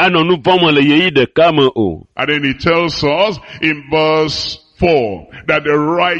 anɔ nu vɔ̃ me le ɣeyiɣi ɖeka me o. And then he tells us in verse 4 that the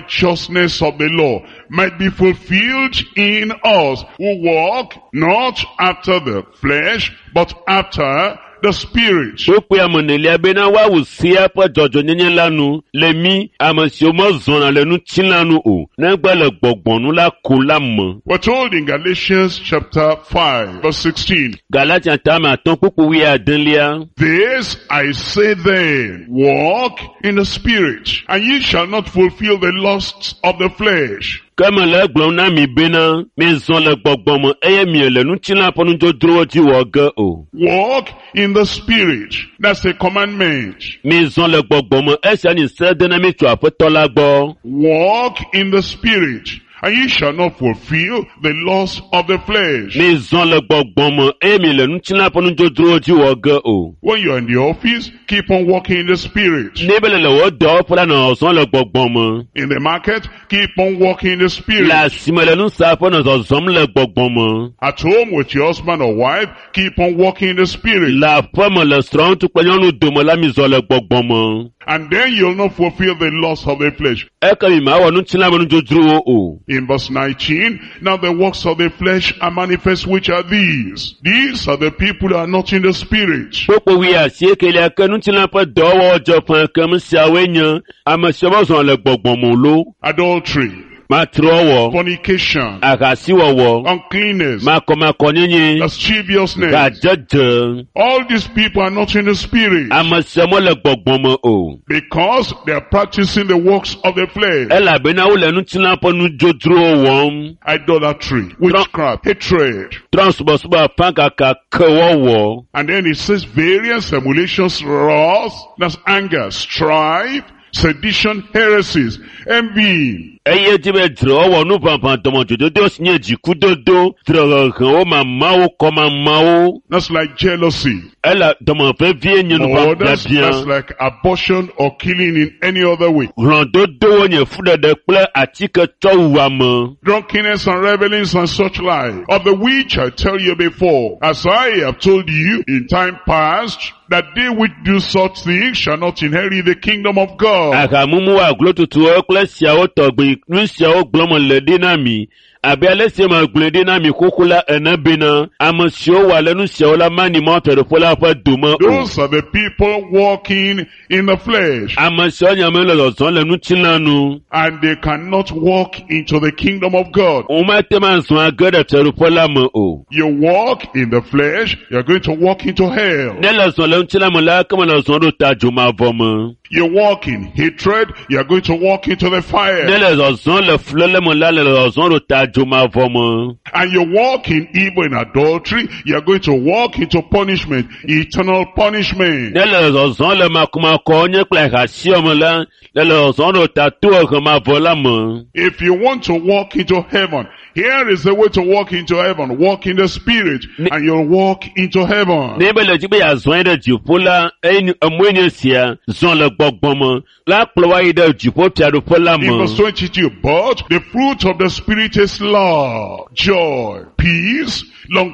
righteousness of the law might be fulfilled in us who walk not after the flesh, but after the Spirit. Kpukpui ame enelia bena woawu sea ƒe dzɔdzɔnyenye la nu le mí ame siwo mezɔna le ŋutilã nu o, negbe le gbɔgbɔ nu la ko la me. We're told in Galatians chapter 5 verse 16, Galatia tame atɔ̃ kpukpui wuiadelia. This I say then, walk in the Spirit, and ye shall not fulfill the lusts of the flesh. Ke mele egblɔm na mi bena, mizɔ le gbɔgbɔ me eye miele ŋutilã ƒe nudzodzrowo dzi wɔ ge o. Walk in the Spirit. That's a commandment. Mizɔ le gbɔgbɔ me esia nye se de na mi tso Aƒetɔ la gbɔ. Walk in the Spirit, and ye shall not fulfill the lust of the flesh. Mizɔ le gbɔgbɔ me eye miele ŋutilã ƒe nudzodzrowo dzi wɔ ge o. When you're in the office, keep on walking in the Spirit. Ne be le le wò dɔwɔƒe la nɔ zɔzɔm le gbɔgbɔ me. In the market, keep on walking in the Spirit. Le asime le nusaƒe nɔ zɔzɔm le gbɔgbɔ me. At home with your husband or wife, keep on walking in the Spirit. Le aƒe me le srɔ̃ŋutsu kple nyɔnu dome la mizɔ le gbɔgbɔ me. And then you'll not fulfill the lust of the flesh. Eke mi mawɔ ŋutilã me nudzodzrowo o. In verse 19, now the works of the flesh are manifest, which are these. These are the people who are not in the Spirit. Kpukpui wuiasiekelia ke ŋutilã ƒe dɔwɔwɔ dze ƒã kem siawoe nye ame siwo mezɔna le gbɔgbɔ me o loo. Adultery, Matrewɔwɔ, fornication, ahasiwɔwɔ, uncleanness, makɔmakɔnyenye, lasciviousness. gadzedze. All these people are not in the Spirit Ame siawo mele gbɔgbɔ me o. because they are practicing the works of the flesh. Elabena wole ŋutilã ƒe nudzodzrowo wɔm. Idolatry, witchcraft, hatred. Trɔ̃subɔsubɔ afãkaka kewɔwɔ. And then it says various emulations, wrath, that's anger, strife, sedition, heresies, envy, Eye dzi be dzrewɔwɔ, nuʋaʋã, dɔmedzododo si nye dzikudodo, dzrehehewo, mamawo, kɔmamawo. that's like jealousy. Ele dɔmevevie nye Or that's, nuʋaʋãbiabia. that's like abortion or killing in any other way. Hlɔ̃dodowo nye fuɖeɖe kple atiketsɔwuame. Drunkenness and revelings and such like, of the which I tell you before, as I have told you in time past, that they which do such things shall not inherit the kingdom of God. Ahamumu aglotutuwo kple siawo tɔgbi, nu siawo gblɔm le ɖi na mi. Abe ale si megblɔe ɖi na mi xoxo la ene bena, ame siwo wɔ ale nu siawo la manyi Mawu Fiaɖuƒe la ƒe dome o. Those are the people walking in the flesh, Ame siawo nye ame le zɔzɔm le ŋutilã nu. and they cannot walk into the kingdom of God. Womate ŋu azɔ age ɖe fiaɖuƒe la me o. You walk in the flesh, you're going to walk into hell. Ne le zɔ le ŋutilã me la, ke mele zɔm ɖo ta dzomavɔ me. You walk in hatred, you're going to walk into the Ne fire. le zɔzɔm le fuléle me la, le zɔzɔm ɖo ta dzomavɔ me. And you walk in evil and adultery, you're going to walk into punishment, eternal punishment. Ne le zɔzɔm le makɔmakɔ nye kple ahasiwɔ me la, le le zɔzɔm ɖo ta tohehe la me. If you want to walk into heaven, here is the way to walk into heaven. Walk in the Spirit, and you'll walk into heaven. Ne be le dzi be yeazɔ yi ɖe dziƒo la, eye emɔe nye sia, zɔ le gbɔgbɔ me, la kplɔ woayi ɖe dziƒo fiaɖuƒe la In me. verse 22, but the fruit of the Spirit is love, joy, peace,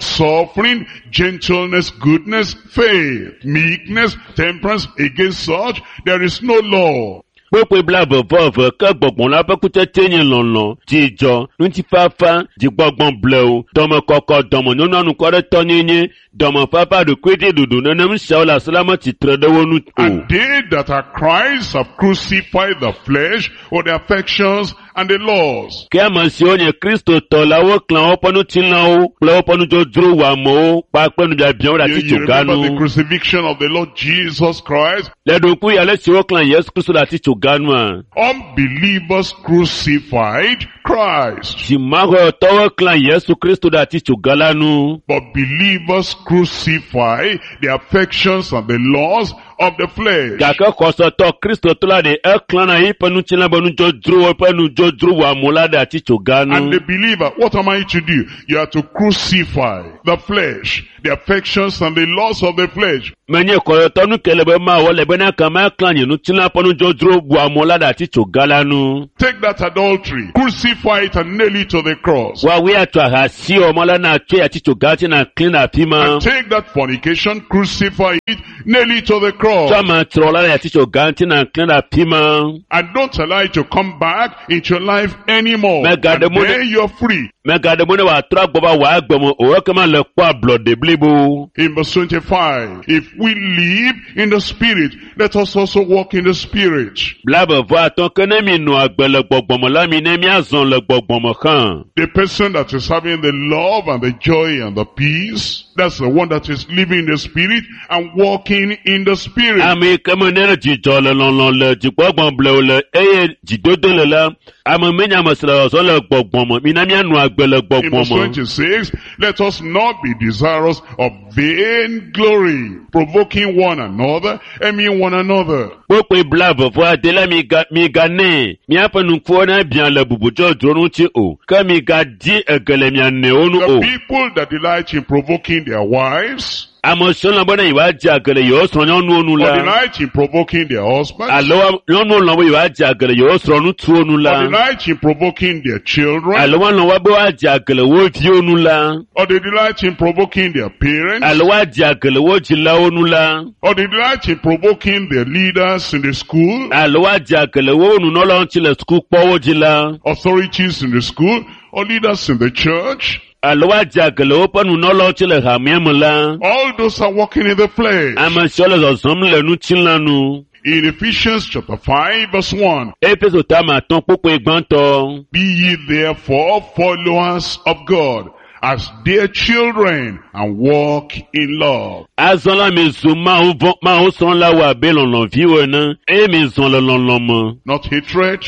long-suffering, gentleness, goodness, faith, meekness, temperance. Against such, there is no law. Kpukpui blaeve vɔ eve ke gbɔgbɔ la ƒe kutsetse nye lɔlɔ̃, dzidzɔ, ŋutifafa, dzigbɔgbɔ blewu, dɔmekɔkɔ, dɔmenyonyo, anukwaretɔnyenye, dɔmefafa, ɖokuidziɖuɖu. Nenem siawo le asi la metsitre ɖe wo nu o. And they that are Christ have crucified the flesh with the affections and the laws. Ke ame siwo nye Kristotɔ la woklã woƒe ŋutilãwo kple woƒe nudzodzro wɔamewo kpakple nubiabiawo ɖe You, you remember the atitsoga nu. crucifixion of the Lord Jesus Christ? Le ɖokui ale si woklã Yesu Kristo ɖe atitsoga nua, Unbelievers crucified Christ. dzimaxɔtɔwo klã Yesu Kristo ɖe atitsoga la nu. But believers crucify the affections and the laws of the flesh. Gake xɔsetɔ Kristotɔ la ɖe eklãna yiƒe ŋutilã be nudzodzrowo ƒe nudzodzro wɔamewo la ɖe atitsoga And nu. the believer, what am I to do? You are to crucify the flesh, the affections and the lusts of the flesh. Menye xɔsetɔ nu ke le be mawɔ le bena kama klã nye ŋutilã ƒe nudzodzro wɔamewo la ɖe atitsoga la nu. Take that adultery, crucify it and nail it to the cross. Woawoe atsɔ ahasi wɔmɔ la na tsɔe atitsoga ŋuti na klẽ ɖe afi ma. And take that fornication, crucify it, nail it to the cross. Tsɔ amatrɔ la ɖe atitsoga ŋuti na klẽ ɖe afi ma. And don't allow it to come back into your life anymore. Mega And demone- then you're free. Megaɖe mɔ ne wòatrɔ agbɔ va wò agbe me o ekema le kpɔ ablɔɖe blibo. In verse 25, if we live in the Spirit, let us also walk in the Spirit. 25 ke ne mi nɔ agbe le gbɔgbɔme la mi ne miazɔ le gbɔgbɔme hã. The person that is having the love and the joy and the peace, that's the one that is living in the Spirit and walking in the Spirit. Ame yi ke me ne le dzidzɔ le lɔlɔ le dzigbɔgbɔ blewu le eye dzidodo le la, ame menye ame si le zɔzɔm le gbɔgbɔme. Mina mianɔ agbe le In verse gbɔgbɔme. 26, let us not be desirous of vain glory, provoking one another, envying one another. Kpokpoe 25 la miga miganɛ miaƒe nukuwo ne bia le bubudzɔdzro ŋuti o ke migadi ege le mia nɔewo nu The o. people that delight in provoking their wives, Ame siwo lɔ̃ bena yewoadze age le yewo srɔ̃nyɔnuwo nu or la. delight in provoking their husbands, alo nyɔnuwo lɔ̃ be yewoadze age le yewo srɔ̃ŋutsuwo nu or la delight in provoking their children, alo woalɔ̃ woabe woadze age le wo viwo nu la or they delight in provoking their parents, alo woadze age le wo dzilawo nu la or they delight in provoking their leaders in the school, alo woadze age le wo nunɔlawo ŋuti le sukukpɔwo dzi la authorities in the school, or leaders in the church. alo woadze age le woƒe nunɔlawo ŋuti le hamea me la All those are walking in the flesh. ame siwo le zɔzɔm le ŋutilã nu. In Ephesians chapter 5 verse 1, Efeso tame atɔ̃ kpokpoe gbãtɔ. Be ye therefore followers of God as dear children and walk in love. Azɔ la mizu Mawu vɔ Mawu srɔ̃lawo abe lɔlɔ̃viwo ene eye mizɔ le lɔlɔ̃ me. Not hatred,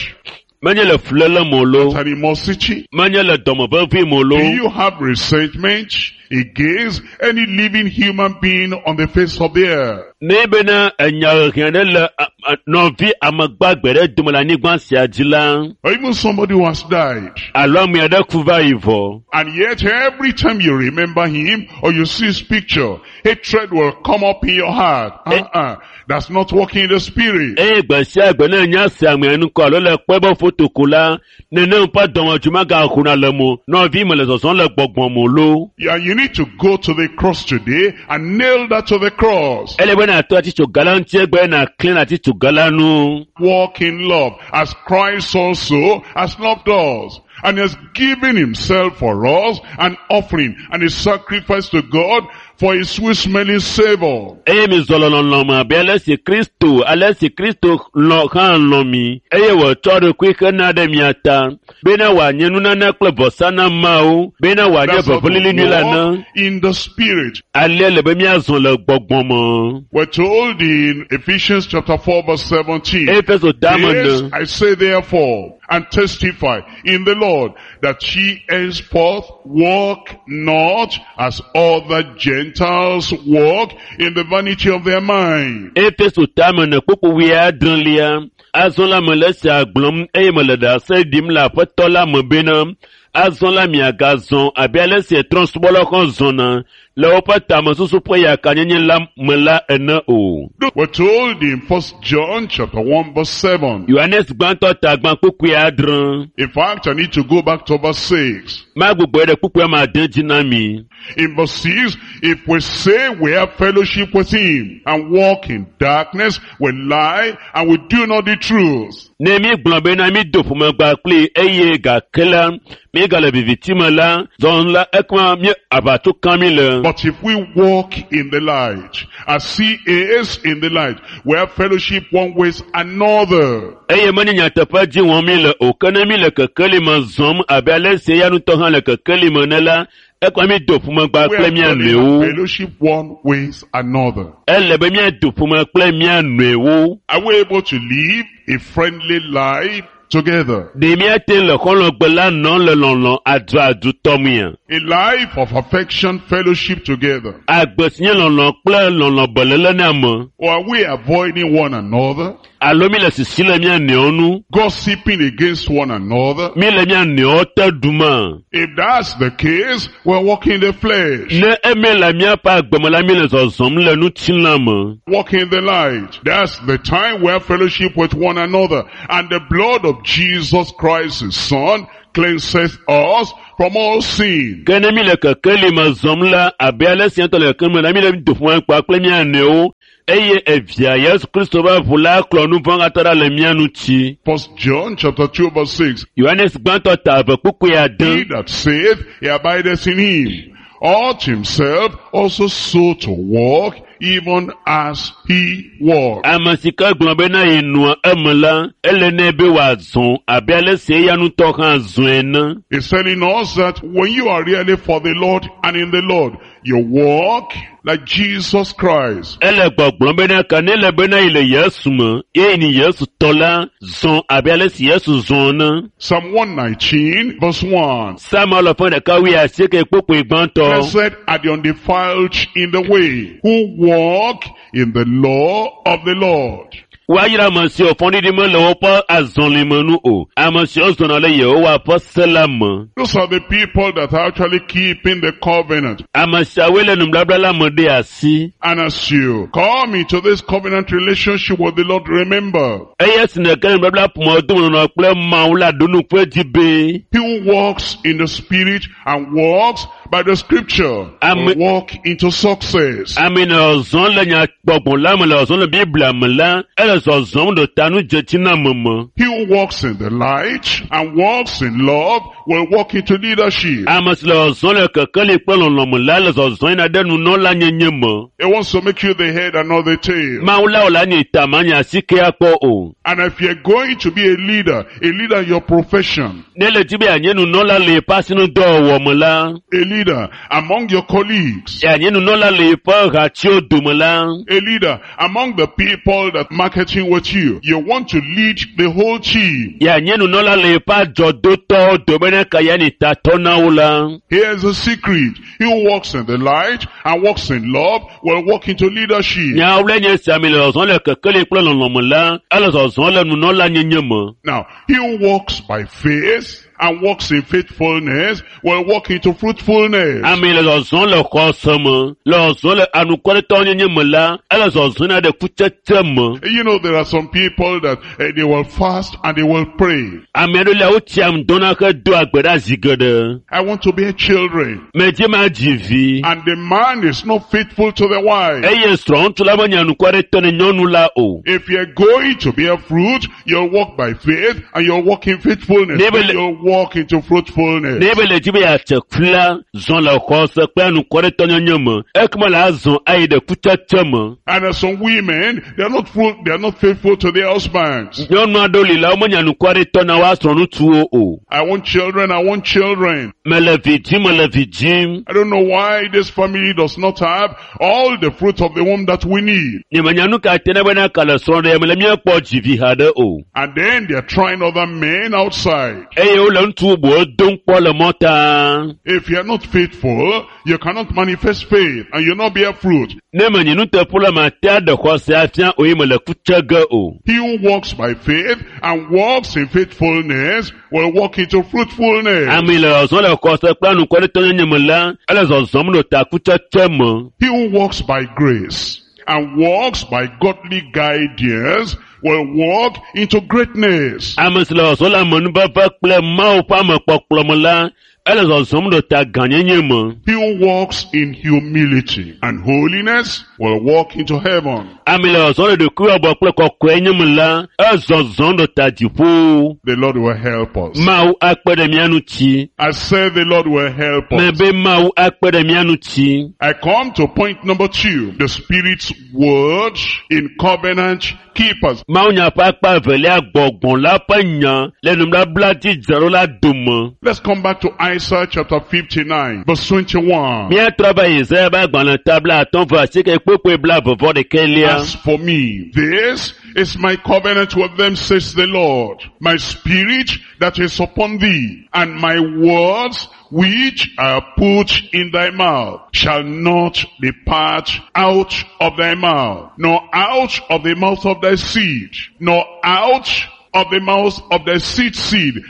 Menye le fuléle me o loo, not animosity. menye le dɔmevevi me o Do loo. you have resentment against any living human being on the face of the earth? Ne bena enya hehe ɖe le nɔvi amegbagbe ɖe dome le anyigba sia dzi la, Or even somebody who has died. alo ame aɖe ku va yi vɔ. And yet every time you remember him or you see his picture, hatred will come up in your heart. Uh-uh. That's not walking in the spirit. Eye gbe sia gbe ne nya se amea ŋkɔ alo le kpɔe be foto ko la, nenem ƒe dɔmedzoe magaxɔna le mo. Nɔvi me le zɔzɔm le gbɔgbɔ me loo. Yeah, you need to go to the cross today and nail that to the cross. Ele be nàtɔ atitsoga la ŋuti egbe nàklẽ le atitsoga la nu. Walk in love as Christ also has loved us and has given himself for us an offering and a sacrifice to God for a sweet smelling savor. Eye mizɔ le lɔlɔ̃ me abe ale si Kristo ale si Kristo lɔ̃ hã lɔ̃ mi eye wòtsɔ eɖokui hena ɖe mia ta bena wòanye nunana kple vɔsa na Mawu bena wòanye That's how to vɔvɔlili nyui la na. walk in the spirit. Alea le be míazɔ le gbɔgbɔ me. We're told in Ephesians chapter 4 verse 17. Efeso tame This ne. I say therefore, and testify in the Lord, that ye henceforth walk not as other Gentiles walk in the vanity of their mind. Efeso tame ne kpukpu wuiadrelia. Azɔ la mele esia gblɔm eye mele ɖase ɖim le Aƒetɔ la me bena azɔ la miagazɔ abe ale si trɔ̃subɔlawo hã zɔna le woƒe tamesusu ƒe yakanyenye la me la ene o. We're told in First John chapter 1 verse 7. Yohanes gbãtɔ ta gbã kpukpui adre. In fact, I need to go back to verse 6. Magbugbɔe ɖe kpukpui ame ade dzi na mi. In verse 6, if we say we have fellowship with him and walk in darkness, we lie and we do not the truth. Ne mígblɔ bena mído ƒomegba kplii eye gake la míegale viviti me la, zɔn la ekema mí aʋatso kam mí le. But if we walk in the light, as he is in the light, we have fellowship one with another. Eye menye nyateƒe dzi wɔm mí le o, ke ne mí le kekeli me zɔm abe ale si eya ŋutɔ hã le kekeli me ene la, ekema mído ƒomegba We kple are mía to have nɔewo. fellowship one with another. Ele be míado ƒome kple mía nɔewo. Are we able to live a friendly life together? Ɖe míate le xɔlɔ̃gbe la nɔm le lɔlɔ aduadu tɔmea? A life of affection, fellowship together. Agbe si nye lɔlɔ kple lɔlɔ belele ne ame. Or are we avoiding one another? Alo mi le sisi le mía nɔewo nu? Gossiping against one another? Mi le mía nɔewo te ɖuma? If that's the case, we're walking in the flesh, Ne eme le míaƒe agbe me la, mi le zɔzɔm le ŋutilã me. walking in the light. That's the time we have fellowship with one another. And the blood of Jesus Christ, his son, cleanses us from all sin. Ke ne mi le kekeli me zɔm la, abe ale si ŋutɔ le kekeli me la, mi le doƒome kpa kple mía nɔewo eye evia Yesu Kristo ƒe ʋu la klɔ nu vɔ̃ katã ɖa le mía ŋuti. First John chapter 2 verse 6. Yohanes gbãtɔ ta eve kpukpui He ade. that saith he abideth in him ought himself also so to walk even as he walked. Ame si ke gblɔ bena yenɔa eme la, ele nɛ be wòazɔ abe ale si eya ŋutɔ hã zɔe ene. He's telling us that when you are really for the Lord and in the Lord, you walk like Jesus Christ. Ele gbɔgblɔm bena ke ne le bena yi le Yesu me, ye ni Yesu tɔ la, zɔ abe ale si Yesu zɔ ene. Psalm 119 verse 1. Psalm alafa ɖeka wuiasieke kpukpui gbãtɔ. Blessed are the undefiled in the way, who walk in the law of the Lord. Woayra ame siwo fɔɖiɖi mele woƒe azɔlime nu o. Ame siwo zɔna le Yehowa ƒe se la me. Those are the people that are actually keeping the covenant. Ame siawoe le nubabla la me ɖe asi. And as you come into this covenant relationship with the Lord, remember, Eye si nège ɖe nubabla ƒomedomenɔnɔ kple Mawu la ɖo nu ƒe dzi be he who walks in the Spirit and walks by the Scripture Amen. will walk into success. ame le zɔzɔm le nyagbɔgbɔ la me le zɔzɔm le Biblia me la, ele zɔzɔm ɖo ta nu dzetsiname me. He who walks in the light and walks in love will walk into leadership. Ame si le zɔzɔm le kekeli kple lɔlɔ me la le zɔzɔm yina ɖe nunɔla nyenye me. He wants to make you the head and not the tail. Mawu la wò la nye ta ma nye asike akpɔ o. And if you're going to be a leader in your profession, Ne le dzi be yeanye nunɔla le yeƒe asinudɔwɔwɔ me la, a leader among your colleagues, yeanye nunɔla le yeƒe hatiwo dome la, a leader among the people that marketing with you, you want to lead the whole team. yeanye nunɔla le yeƒe adzɔdotɔwo dome ne ke yeanyi tatɔ na wo la. Here's the secret. He who walks in the light and walks in love will walk into leadership. Nyawo le nye sia mi le zɔzɔm le kekeli kple lɔlɔ me la, ele zɔzɔm le nunɔla nyenye me. Now, he who walks by faith and walks in faithfulness will walk into fruitfulness. Ame le zɔzɔm le xɔse me, le zɔzɔm le anukwaretɔ nyenye me la, ele zɔzɔm na ɖe kutsetse me. You know, there are some people that they will fast and they will pray. Ame aɖewo lia wotsia ŋdɔna hedoa gbe ɖa zi geɖe. I want to bear children. Medzi ma dzi vi. And the man is not faithful to the wife. Eye srɔ̃ŋutsu la menye anukwaretɔ ne nyɔnu la o. If you're going to bear fruit, you'll walk by faith and you'll walk in faithfulness. Never Then You'll walk into fruitfulness. Ne ebe le dzi be yeatse ku la, zɔ le xɔse kple anukwaretɔ nyenye me. Ekema la azɔ ayi ɖe kutsetse me. And as some women, they are not fruit, they are not faithful to their husbands. Nyɔnu aɖewo li la womenye anukwaretɔ na woa srɔ̃ŋutsuwo o. I want children, I want children. Mele vi dzim, mele vi dzim. I don't know why this family does not have all the fruit of the womb that we need. Nyemenya nu ka te ne bena ka le srɔ̃ɖe me le míekpɔ dzi vi haɖe o. And then they are trying other men outside. Eye wole ŋutsu bubuwo dom kpɔ le mɔta. If you are not faithful, you cannot manifest faith and you'll not bear fruit. Ne menye nuteƒe la mate aɖe xɔse afia o ye mele ku tse ge o. He who walks by faith and walks in faithfulness will walk into fruitfulness. Ame le zɔzɔm le xɔse kple anukwaretɔ nyenye me la, ele zɔzɔm ɖo ta kutsetse me. He who walks by grace and walks by godly guidance will walk into greatness. Ame si le zɔzɔm le amenuveve kple Mawu ƒe amekpɔkplɔ me la, ele zɔzɔm ɖo ta gãnyenye me. He who walks in humility and holiness will walk into heaven. Ame le zɔzɔm le ɖokuiwɔbɔ kple kɔkɔenye me la, ezɔzɔm ɖo ta dziƒo. The Lord will help us. Mawu akpe ɖe mía ŋuti. I said the Lord will help us. Mebe Mawu akpe ɖe mía ŋuti. I come to point number 2, the Spirit's word in covenant keepers. Mawunya ƒe akpa evelia gbɔgbɔ la ƒe nya le nubabla dzi dzraɖo la dome. Let's come back to Isaiah chapter 59, verse 21. Míatrɔ va Yesaya ƒe agbalẽ ta bla atɔ̃ vɔ asieke kpokpoe bla vɔvɔ ɖekɛlia. As for me, this is my covenant with them, says the Lord. My spirit that is upon thee, and my words which I put in thy mouth shall not depart out of thy mouth, nor out of the mouth of thy seed, nor out of the mouth of the seed,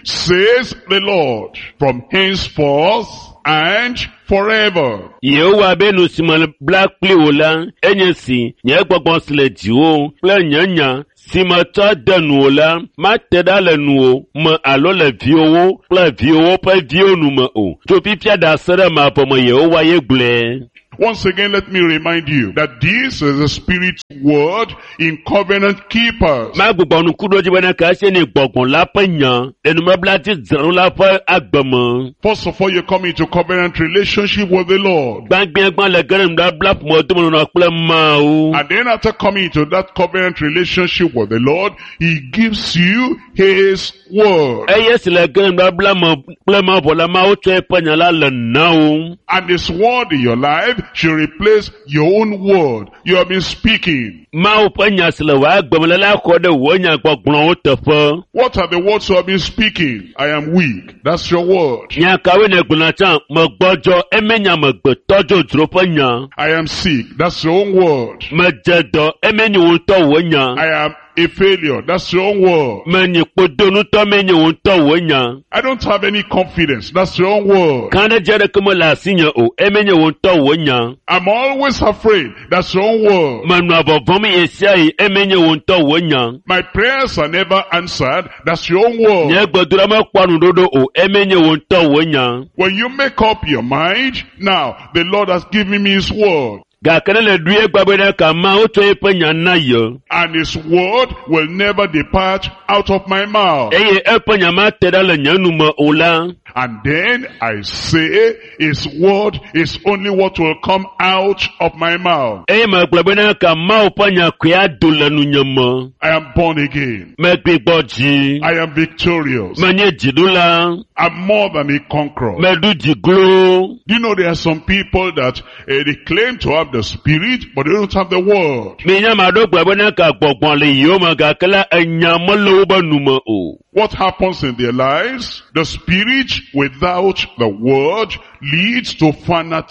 says the Lord, from henceforth and forever. Yehowa be nu si me bla kpli wò la, enye si nye gbɔgbɔ si le dziwò kple nye nya si metsɔ de nuwò la, mate ɖa le nuwò me alo le viwòwo kple viwòwo ƒe viwo nu me o. Tso fifia ɖase ɖe mavɔ me Yehowa ye gblɔe. Once again, let me remind you that this is the Spirit's word in covenant keepers. Magbugbɔ ŋku ɖo dzi bena ke esie nye gbɔgbɔ la ƒe nya le nubabla dzi dzram la ƒe agbe me. First of all, you come into covenant relationship with the Lord. Gbãgbãgbã le ge ɖe nubabla ƒomedomenɔnɔ kple Mawu. And then after coming into that covenant relationship with the Lord, He gives you His word. Eye si le ge ɖe nubabla me kple Mawu vɔ la, Mawu tsɔ eƒe nya la le na wò. And His word in your life should replace your own word you have been speaking. Mawu ƒe nya si le wò agbe me la la xɔ ɖe wò nyagbɔgblɔwo teƒe. What are the words you have been speaking? I am weak. That's your word. Nya kawoe nègblɔna tsã? Megbɔdzɔ, eme nye amegbetɔ dzodzro ƒe nya. I am sick. That's your own word. Medze dɔ, eme nye wò ŋutɔ wò nya. I am a failure. That's your own word. Menye kpodonutɔ me nye wò ŋutɔ wò nya. I don't have any confidence. That's your own word. Kãɖedzi aɖeke mele asinye o, eme nye wò ŋutɔ wò nya. I'm always afraid. That's your own word. Menɔa vɔvɔ̃m ɣe sia ɣi, eme nye wò ŋutɔ wò nya. My prayers are never answered. That's your own word. Nye gbedoɖa mekpɔa nuɖoɖo o, eme nye wò ŋutɔ wò nya. When you make up your mind, now the Lord has given me His word. Gake ne le ɖui egba bena ka Mawu tsɔ eƒe nya na ye. And His word will never depart out of my mouth. Eye eƒe nya mate ɖa le nye nu me o la. And then I say, His word is only what will come out of my mouth. Eye megblɔ bena ka Mawu ƒe nya koe ado le nunye me. I am born again. Megbigbɔ dzi. I am victorious. Menye dziɖula. I'm more than a conqueror. Meɖu dzi glo. Do you know there are some people that they claim to have the spirit, but they don't have the word. Minya ame aɖewo gblɔ bena ka gbɔgbɔ le yewo me gake la enya mele wobe nu me o. What happens in their lives? The spirit without the word leads to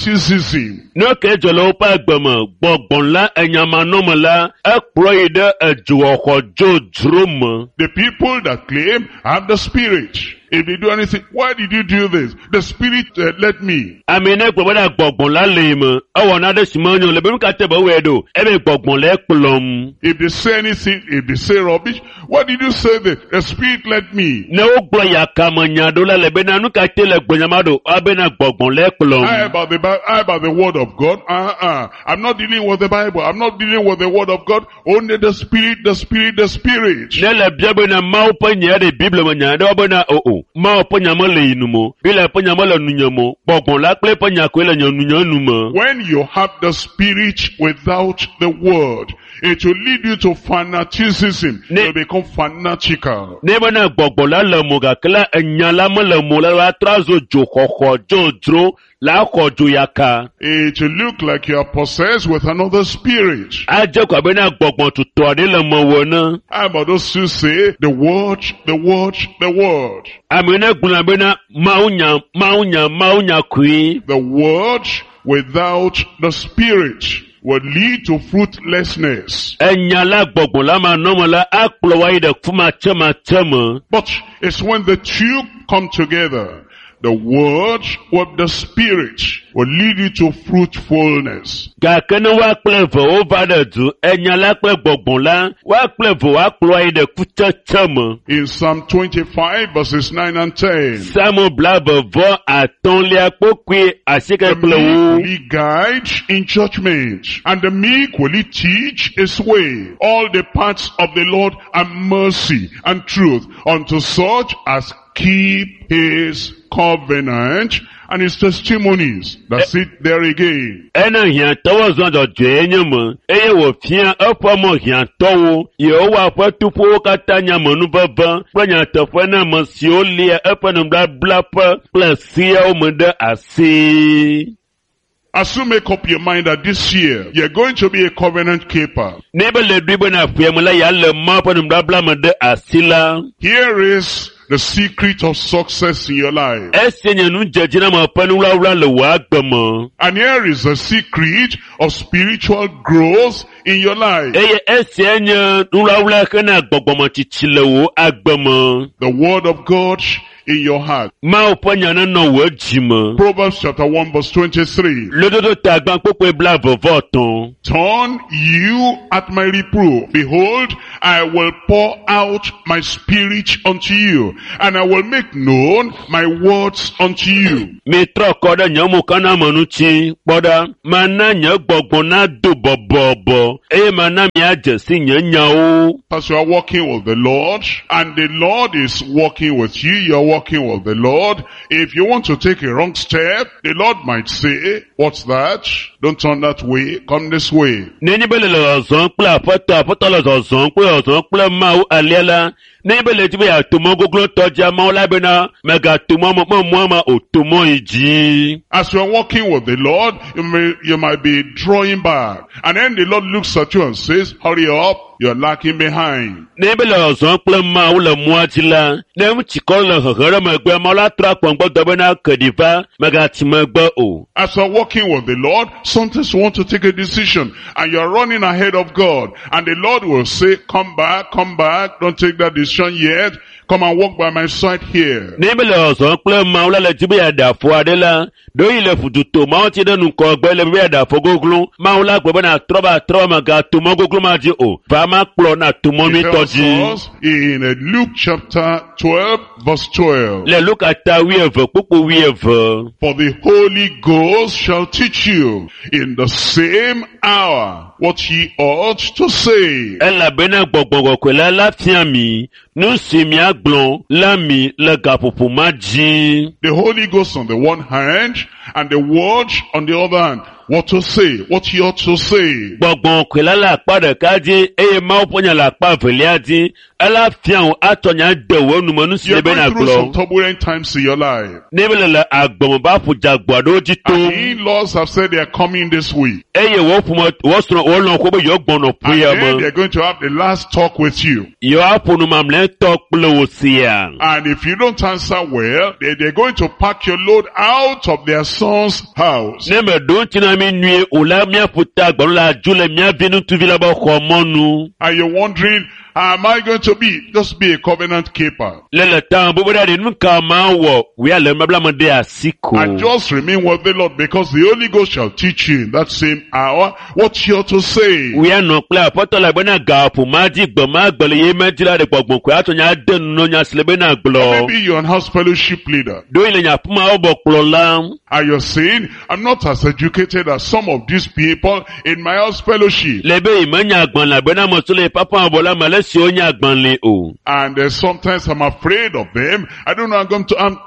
fanaticism. Ne ke dzɔ le woƒe agbe me, gbɔgbɔ la enyamanɔme la, ekplɔ yi ɖe edzoxɔxɔ dzodzro me. The people that claim have the spirit. If they do anything, why did you do this? The spirit led me. Ame ne gblɔ bena gbɔgbɔ la le yi me, ewɔ naɖe si menyo le be nu ka te be wɔe ɖo, ebe gbɔgbɔ le ekplɔm. If they say anything, if they say rubbish, why did you say this? The spirit led me. Ne wogblɔ yakame nya ɖo la le bena nu ka te le gblɔnyama ɖo, abena gbɔgbɔ le ekplɔm. How about the Bible? How about the word of God? I'm not dealing with the Bible. I'm not dealing with the word of God. Only the spirit, the spirit, the spirit. Ne le bia bena Mawu ƒe nya ɖe Biblia me nya ɖe bena o o, Mawu ƒe nya mele yi nu me o, Biblia ƒe nya mele nunye me o, gbɔgbɔ la kple eƒe nya koe le nye nunye nu me. When you have the spirit without the word, it will lead you to fanaticism. You become fanatical. Ne bena gbɔgbɔ la le mo gake la enya la mele mo la la trɔ azu dzoxɔxɔ dzodzro la xɔ dzo yaka. It will look like you are possessed with another spirit. Adze ko abe na gbɔgbɔ tutɔ aɖe le mewò ene. How about those who say the word, the word, the word? Ame ne gblɔna bena Mawu nya, Mawu nya, Mawu nya koe. The word without the spirit will lead to fruitlessness. Enya la gbɔgbɔ la manɔme la akplɔ wa yi ɖe kumatsematse me. But it's when the two come together, the word with the spirit will lead you to fruitfulness. Gake ne woa kple eve wova ɖe du, enya la kple gbɔgbɔ la, woa kple eve woakplɔ wa yi ɖe kutsetse me. In Psalm 25 verses 9 and 10. Psalm blaeve vɔ atɔ̃lia kpokpui asieke The kple meek wo. will he guide in judgment, and the meek will he teach his way. All the paths of the Lord are mercy and truth unto such as keep his covenant and his testimonies. That's it there again. Ena hiãtɔwo zɔ dzɔdzɔe nye me, eye wòfia eƒe mɔ hiãtɔwo. Yehowa ƒe tuƒowo katã nye amenuveve kple nyateƒe na ame siwo lia eƒe nubabla ƒe kple seawo me ɖe asi. As you make up your mind that this year you're going to be a covenant keeper, Ne be le ɖoe bena ƒea me la ya le Mawu ƒe nubabla me ɖe asi la, here is the secret of success in your life. esia nye nudzedziname ƒe nuwlawla le wò agbe me. And here is the secret of spiritual growth in your life. Eye esia nye nuwlawla hena gbɔgbɔmetsitsi le wò agbe me. The word of God in your heart. Mawu ƒe nya nenɔ wò dzi me. Proverbs chapter 1 verse 23. Lododo ta gbã kpokpoe 23. Turn you at my reproof. Behold, I will pour out my spirit unto you, and I will make known my words unto you. Mitrɔ kɔ ɖe nye mokaname ŋuti kpɔ ɖa. Mana nye gbɔgbɔ nado bɔbɔbɔ eye mana miadze si nye nyawo. As you are walking with the Lord, and the Lord is walking with you, you're walking with the Lord. If you want to take a wrong step, the Lord might say, what's that? Don't turn that way, come this way. Nenye be le le zɔzɔm kple aƒetɔ, aƒetɔ le zɔzɔm kple zɔzɔm kple Mawu alea la, nenye be le dzi be yeato mɔ goglotɔ dzia, Mawu la bena mègato mɔ me mɔa ma o, to mɔ yi dzi. As you are walking with the Lord, you might be drawing back. And then the Lord looks at you and says, hurry up, you're lacking behind. Nenye be le zɔzɔm kple Mawu le mɔa dzi la, ne ŋutikɔ le hehe ɖe megbe, Mawu la trɔ akpɔ ŋgbɔdɔ bena ke ɖi va, mègatsi megbe o. As you are walking with the Lord, sometimes you want to take a decision and you're running ahead of God. And the Lord will say, come back, don't take that decision yet. Come and walk by my side here. Nenye be le zɔzɔm kple Mawu la le dzi be yeaɖe afɔ aɖe la, ɖewohĩ le fututo Mawu ŋuti ɖe ŋgɔgbe le be yeaɖe afɔ goglo. Mawu la gblɔ bena trɔ va trɔ va mègato mɔ goglo ma dzi o. Va ma kplɔ na to mɔ He nyuitɔ tells dzi. us in Luke chapter 12 verse 12. Le Luka ta 12 kpukpu 12. For the Holy Ghost shall teach you in the same hour what ye ought to say. Elabena gbɔgbɔ kɔkɔe la la fia mi nu si miagblɔ la mi le gaƒoƒo ma dzi. The Holy Ghost on the one hand and the Word on the other hand. What to say, what ye ought to say. Gbɔgbɔ kɔkɔe la le akpa ɖeka dzi eye Mawu ƒe nya le akpa evelia dzi. Ela fia wò atsɔ nya de wò nume nu si You're be going through nàgblɔ. some turbulent times in your life. Ne be le le agbɔme ba ƒo dze agbo aɖewo dzi And tom the in-laws have said they are coming this week. eye wò ƒome wò srɔ̃ wò lɔ̃ ko be yewo gbɔnɔ And ƒea then me. they're going to have the last talk with you. Yewoaƒo nu mamlɛtɔ kple wò sia. And if you don't answer well, they're going to pack your load out of their son's house. Ne meɖo ŋuti na mi nyuie o la, míaƒo ta agbalẽ la dzo le mía vi ŋutsuvi la be xɔ mɔnu. And you're wondering, how am I going to be? Just be a covenant keeper. Le le ta me bóbó ɖe nu ka ma wɔ, wòya le nubabla me ɖe asi ko. And just remain with the Lord, because the Holy Ghost shall teach you in that same hour what you ought to say. Wòya nɔ kple aƒetɔ la bena gaƒo ma dzi gbe ma gbe le ye me dzi la ɖe gbɔgbɔ koe atsɔ nya de nu nya si le bena gblɔ. Maybe you're an house fellowship leader. Ɖewohĩ le nye aƒemawo bɔ kplɔla. And you're saying, I'm not as educated as some of these people in my house fellowship. Le be yi menya agbalẽ bena ame siwo le papa bɔ la me ale si wonya agbalẽ o. And sometimes I'm afraid of them. I don't know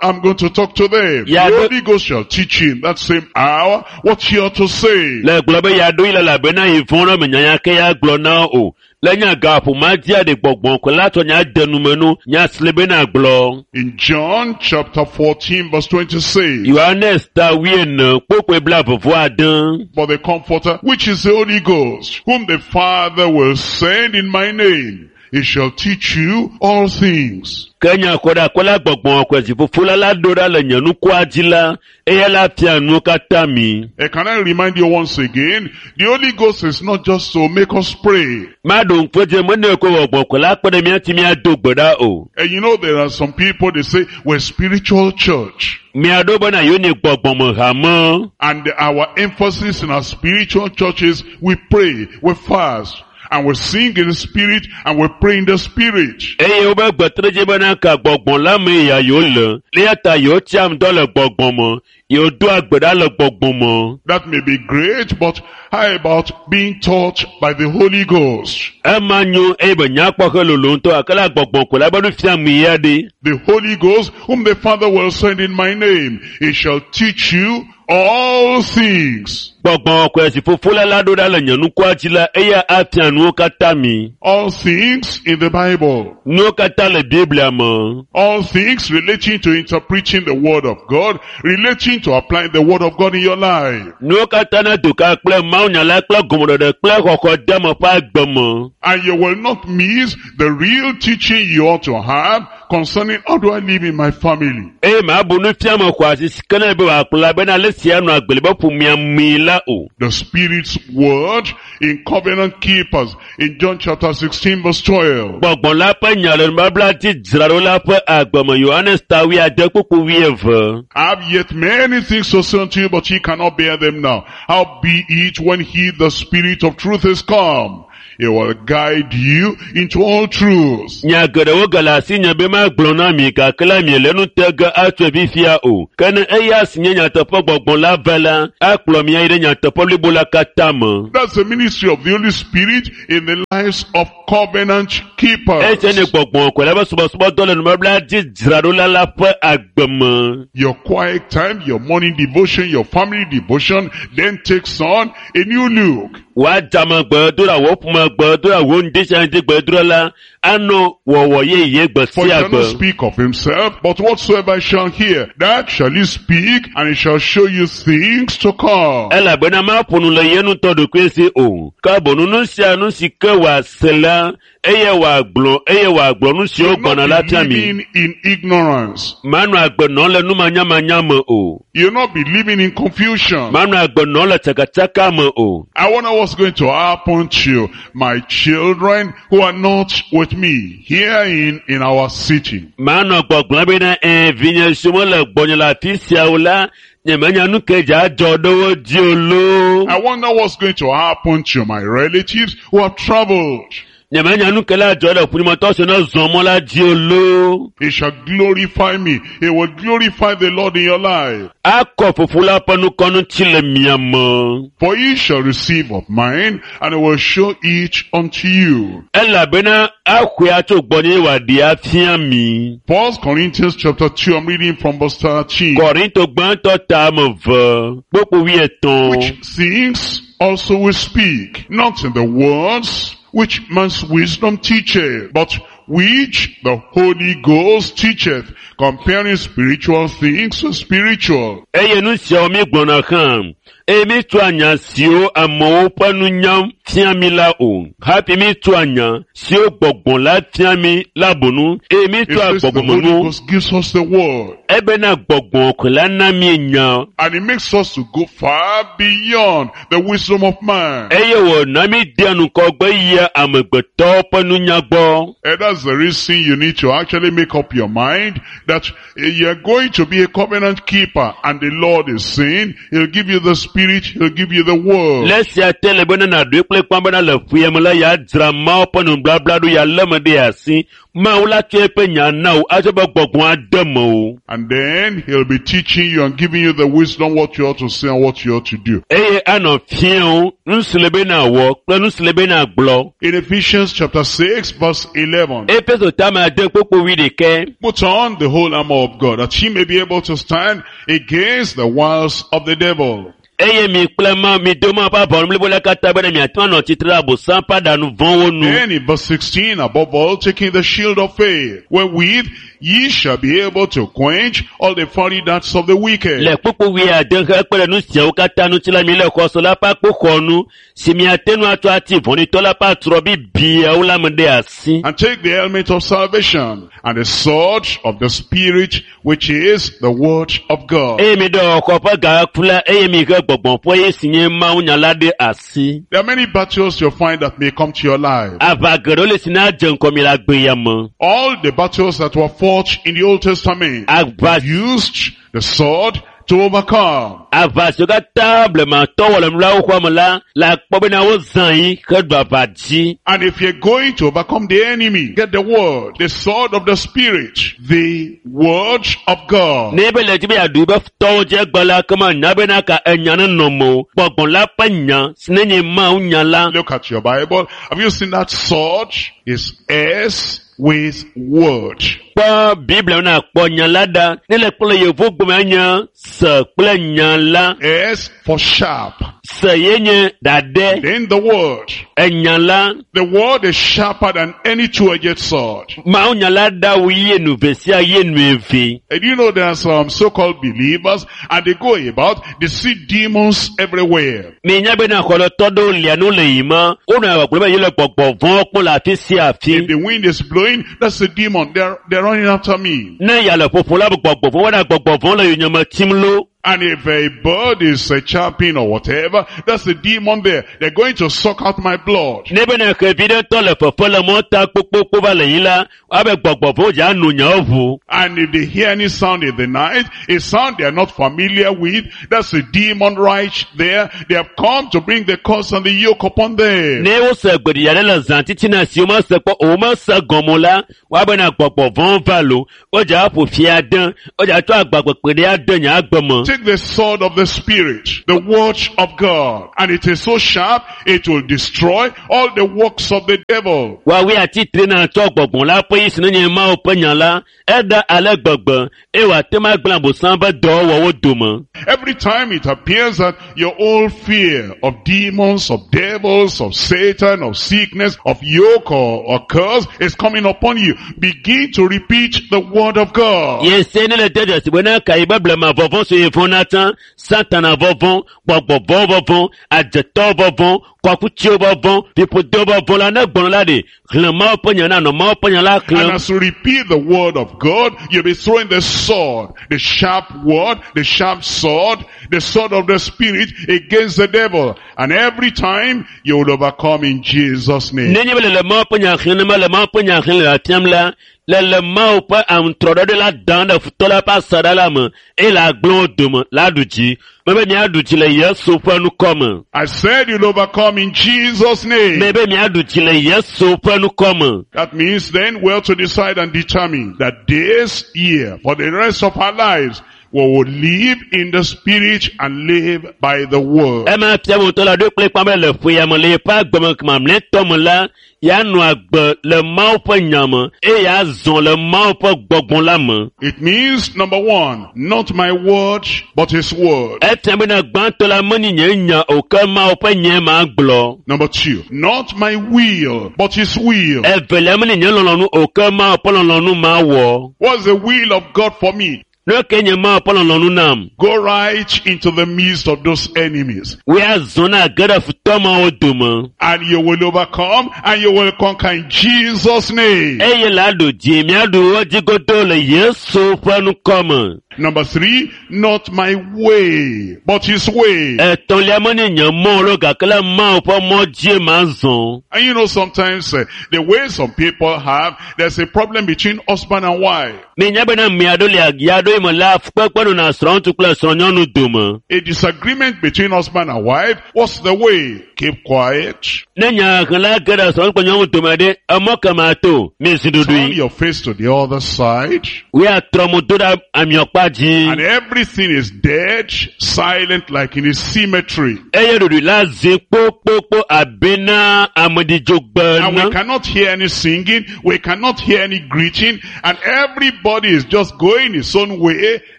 I'm going to talk to them. Yeah, the but- Holy Ghost shall teach you in that same hour what you ought to say. Le gblɔ be yeaɖo yi le elabena yi vɔ̃ ɖe me nyanya ke ya gblɔ na wo o. Le nya gaƒo ma dzia ɖe gbɔgbɔ ko la tsɔ nya de nume nu nya si le bena gblɔ. In John chapter 14 verse 26. Yohanes ta 14 kpokpoe 26. But the Comforter, which is the Holy Ghost, whom the Father will send in my name, he shall teach you all things. Ke nya kɔ ɖe akɔla gbɔgbɔ kɔ dziƒoƒo la la ɖo ɖa le nye nukua dzi la, eya la fia nuwo katã mi. Can I remind you once again, the Holy Ghost is not just to make us pray. Maɖo ŋku edzi mene ko gbɔgbɔ kɔ la kpe ɖe mía ŋuti míado gbe ɖa o. And you know there are some people, they say, we're spiritual church. Miaɖo bena yewo nye gbɔgbɔme hame. And our emphasis in our spiritual churches, we pray, we fast, and we sing in the spirit, and we pray in the spirit. Eye wobe gbetre dzi bena ka gbɔgbɔ la me ya yewo le. Eya ta yewo tsiam dɔ le gbɔgbɔ me. Yewo doa gbe ɖa le gbɔgbɔ me. That may be great, but how about being taught by the Holy Ghost? Ema nyo eye be nyakpɔ he lolo ŋutɔ gake la gbɔgbɔ ko la be nu fiam ya ɖe. The Holy Ghost, whom the Father will send in my name, he shall teach you all things. Gbɔgbɔ kɔkɔe si fofo la la ɖo ɖa le nye nukua dzi la eya afia nuwo katã mi. All things in the Bible. Nuwo katã le Biblia me. All things relating to interpreting the Word of God, relating to applying the Word of God in your life. Nuwo katã na do ka kple mawunya la kple gɔmeɖeɖe kple xɔxɔ deme ƒe agbe me. And you will not miss the real teaching you ought to have concerning how do I live in my family. Eye mabu nufiame xɔ asi si ke ne be wòakplɔ la bena ale sia nɔ agbe le be ƒomea mee la o. The Spirit's Word in Covenant Keepers in John chapter 16 verse 12. Gbɔgbɔ la ƒe nya le nubabla dzi dzraɖo la ƒe agbe me Yohanes ta wuiade kpukpu wuieve. I have yet many things to say unto you, but ye cannot bear them now. How be it when he, the Spirit of truth, is come? He will guide you into all truth. Nya geɖewo gale asinye be magblɔ na mi gake la miele nu te ge atsoe fifia o. Ke ne eya si nye nyateƒe gbɔgbɔ la va la, akplɔ mi ayi ɖe nyateƒe blibo la katã me. That's the ministry of the Holy Spirit in the lives of covenant Esia nye keepers. gbɔgbɔ kɔkɔe la ƒe subɔsubɔdɔ le nubabla dzi dzraɖola la ƒe agbe me. Your quiet time, your morning devotion, your family devotion, then takes on a new look. Wòadzame gbedoɖa, wò ƒome gbedoɖa, wò ŋdisia ŋdi gbedoɖa la anɔ wɔwɔ yeye gbe For he sia shall not gbe. speak of himself, but whatsoever he shall hear, that shall he speak, and he shall show you things to come. Elabena maƒo nu le ye ŋutɔ ɖokui si o. Ke boŋ nu sia nu si ke wòase la, eye wòagblɔ eye wòagblɔ nu siwo You'll gbɔna la not fia be mi. living in ignorance. Manɔ agbe nɔm le numanyamanya me o. You'll not be living in confusion. Manɔ agbe nɔm le tsakatsaka me o. I wonder what's going to happen to my children who are not with me here in our city. Manɔ gbɔgblɔm bena ɛ vinye siwo mele gbɔnye le afi sia o la, nyemenya nu ke dze adzɔ ɖe wo dzi o loo. I wonder what's going to happen to my relatives who have traveled. Nyemenya nu ke la adzɔ ɖe ƒunyemetɔ siwo ne zɔ mɔ la dzi o loo. He shall glorify me. He will glorify the Lord in your life. Akɔ fofo la ƒe nukɔnu tsi le mia me. For he shall receive of mine, and I will show it unto you. Elabena axɔe atso gbɔnye wòaɖi afia mi. First Corinthians chapter 2, I'm reading from verse 13. Kɔrinto gbãtɔ ta ame eve kpokpo wuietɔ̃. Which things also we speak, not in the words which man's wisdom teacheth, but which the Holy Ghost teacheth, comparing spiritual things with spiritual. Eye nu siawo mi gblɔna hã, eye mi tsoa nya siwo amewo ƒe nunya fia mi la o. Hafi mi tsoa nya siwo gbɔgbɔ la fia mi la bonu, eye mi It tsoa says the Holy gbɔgbɔmenu. Ghost gives us the word, Ebena gbɔgbɔ ko la na mi nya, and it makes us to go far beyond the wisdom of man. eye wòna mi dea ŋgɔgbe yia amegbetɔwo ƒe nunya gbɔ. And that's the reason you need to actually make up your mind that you're going to be a covenant keeper, and the Lord is saying, He'll give you the Spirit, He'll give you the word. Le esia te le bena nàɖoe kple kpã bena le ƒuya me la yeadzra Mawu ƒe nubabla ɖo yealé me ɖe asi. Mawu la tsɔ eƒe nya na wò atsɔ be gbɔgbɔ ade mewò. And then He'll be teaching you and giving you the wisdom what you ought to say and what you ought to do. Eye anɔ fia wo nu si le be nàwɔ kple nu si le be nàgblɔ. In Ephesians chapter 6 verse 11, Efeso tame ade kpokpo wuiɖekɛ. put on the whole armor of God that ye may be able to stand against the wiles of the devil. Eye mi kple ma mi do ma ƒe aʋawɔnu blibo la katã bena miate ŋu anɔ tsitre ɖe Abosam ƒe aɖaŋu vɔ̃wo nu. Then in verse 16, above all, taking the shield of faith, wherewith ye shall be able to quench all the fiery darts of the wicked. Le kpukpu wuiade he kpe ɖe nu siawo katã ŋuti la mi le xɔse la ƒe akpoxɔnu si miate ŋu atsɔ ati vɔ̃ɖitɔ la ƒe atrɔ bibiawo la me ɖe asi. And take the helmet of salvation and the sword of the Spirit, which is the word of God. Eye mi ɖe xɔ ƒe gaku la eye mi he gbɔgbɔ ƒe ye si nye mawunya la ɖe asi. There are many battles you'll find that may come to your life. Aʋa geɖewo le si na dze ŋgɔ mi le agbe ya me. All the battles that were fought in the Old Testament Aʋa used the sword to overcome. aʋa siwo katã blematɔwo wɔ le nulawo xɔa me la le akpɔ bena wozã yi heɖu aʋa dzi. And if you're going to overcome the enemy, get the word, the sword of the Spirit, the word of God. Ne ebe le dzi be yeaɖu yibe futɔwo dzi egbe la kema nya bena ka enya ne nɔ mewò. Gbɔgbɔ la ƒe nya si ne nye Mawu nya la. Look at your Bible. Have you seen that sword? It's S with word. kpɔ Biblia na kpɔ nya la ɖa ne le kplɔ yevu gbɔme nye se kple nya la. S for sharp. Se ye nye ɖaɖɛ. Then the word. Enya la. The word is sharper than any two-edged sword. Mawu nya la ɖa wu ye nu ve sia ye nu eve. And you know there are some so-called believers and they go about, they see demons everywhere. Mi nya bena xɔlɔtɔ ɖewo lia nu le yi ma, wonɔ gbɔgblɔ be yele gbɔgbɔ vɔ̃wo kpɔm le afi sia afi. If the wind is blowing, that's a demon. They're running after me. Ne ya le ƒoƒo la, gbɔgbɔ vɔ̃, wɔna gbɔgbɔ vɔ̃ le yonyeme tim lo. And if a bird is chirping or whatever, that's the demon there. They're going to suck out my blood. Ne bena xevi ɖe tɔ le fefe le mɔta kpokpokpo va le yi la, woabe gbɔgbɔ vɔ̃wo dza nu nyawo ʋu. And if they hear any sound in the night, a sound they are not familiar with, that's a demon right there. They have come to bring the curse and the yoke upon them. Ne wose gbeɖiɖi aɖe le zã titina si womese kpɔ o, womese gɔme o la, woabe na gbɔgbɔ vɔ̃wo va lo. Wodza aƒo fi ade, wodza tsɔ agbagbekpe ɖe ade nye agbe me. Take the sword of the Spirit, the word of God, and it is so sharp, it will destroy all the works of the devil. Woawoe atitre na tsɔ gbɔgbɔ la ƒe yi si nenye Mawu ƒe nya la, eɖa ale gbegbe eye wòate ŋu agblẽ Abosam ƒe dɔwɔwɔwo dome. Every time it appears that your old fear of demons, of devils, of Satan, of sickness, of yoke or curse is coming upon you, begin to repeat the word of God. Yese ne le de dzesi bena ka yi be blema vɔvɔ̃ si yi vɔ̃na tsã, Satana vɔvɔ̃, gbɔgbɔ vɔ̃ vɔvɔ̃, adzetɔ vɔvɔ̃, kɔkutsiwo vɔvɔ̃, fiƒodo vɔvɔ̃ la ne gbɔnɔ la ɖe, xlẽ Mawu ƒe nya na nɔ Mawu ƒe nya la And xlẽm. as you repeat the word of God, you'll be throwing the sword, the sharp word, the sharp sword, the sword of the Spirit against the devil. And every time you will overcome in Jesus' name. Nenye be le le Mawu ƒe nya xlẽm le Mawu ƒe nya xlẽm le afiam la, le le Mawu ƒe aŋutrɔɖɔɖɔ la dam ɖe futɔ la ƒe asaɖa la me eye le agblẽ wo dome la ɖu dzi. Mebe miaɖu dzi le Yesu ƒe ŋkɔ me. I said you'll overcome in Jesus' name. Mebe miaɖu dzi le Yesu ƒe ŋkɔ me. That means then we have to decide and determine that this year, for the rest of our lives, we will live in the Spirit and live by the Word. Ema fia be wòtɔ la ɖo kple kpam le ƒe ya me le yeƒe agbe mamlɛtɔ me la, ya nɔ agbe le Mawu ƒe nya me eye ya zɔ le Mawu ƒe gbɔgbɔ la me. It means, number one, not my word, but His word. Efia bena gbãtɔ la menye nye nya o ke Mawu ƒe nya ma gblɔ. Number two, not my will, but His will. Evelia menye nye lɔlɔ̃nu o ke Mawu ƒe lɔlɔ̃nu ma wɔ. What's the will of God for me? Ne ke nye Mawu ƒe lɔlɔ̃nu nam. Go right into the midst of those enemies. Woe azɔ na ge ɖe futɔ mawo dome. And you will overcome and you will conquer in Jesus' name. Eye la ɖu dzi miaɖu wo dzi godoo le Yesu ƒe ŋkɔ me. Number three, not my way, but His way. Etɔ̃lia menye nye mɔ lo gake le Mawu ƒe mɔ dzie ma zɔ. And you know sometimes the way some people have, there's a problem between husband and wife. Mi nya bena ame aɖewo le ya ɖo yi me la fukpekpe nɔna srɔ̃ŋutsu kple srɔ̃nyɔnu dome. A disagreement between husband and wife, what's the way? Keep quiet. Ne nya xlẽla ge ɖe srɔ̃ŋutsu kple nyɔnu dome ɖe, emɔ ke ma to, mi zi Turn ɖuɖui. your face to the other side. Woe atrɔ mo do ɖe amiɔkpa dzi. And everything is dead, silent like in a cemetery. Eye ɖuɖui la zi kpokpokpo abe na amedzidzogbe And we ene. cannot hear any singing, we cannot hear any greeting, and everybody is just going his own way.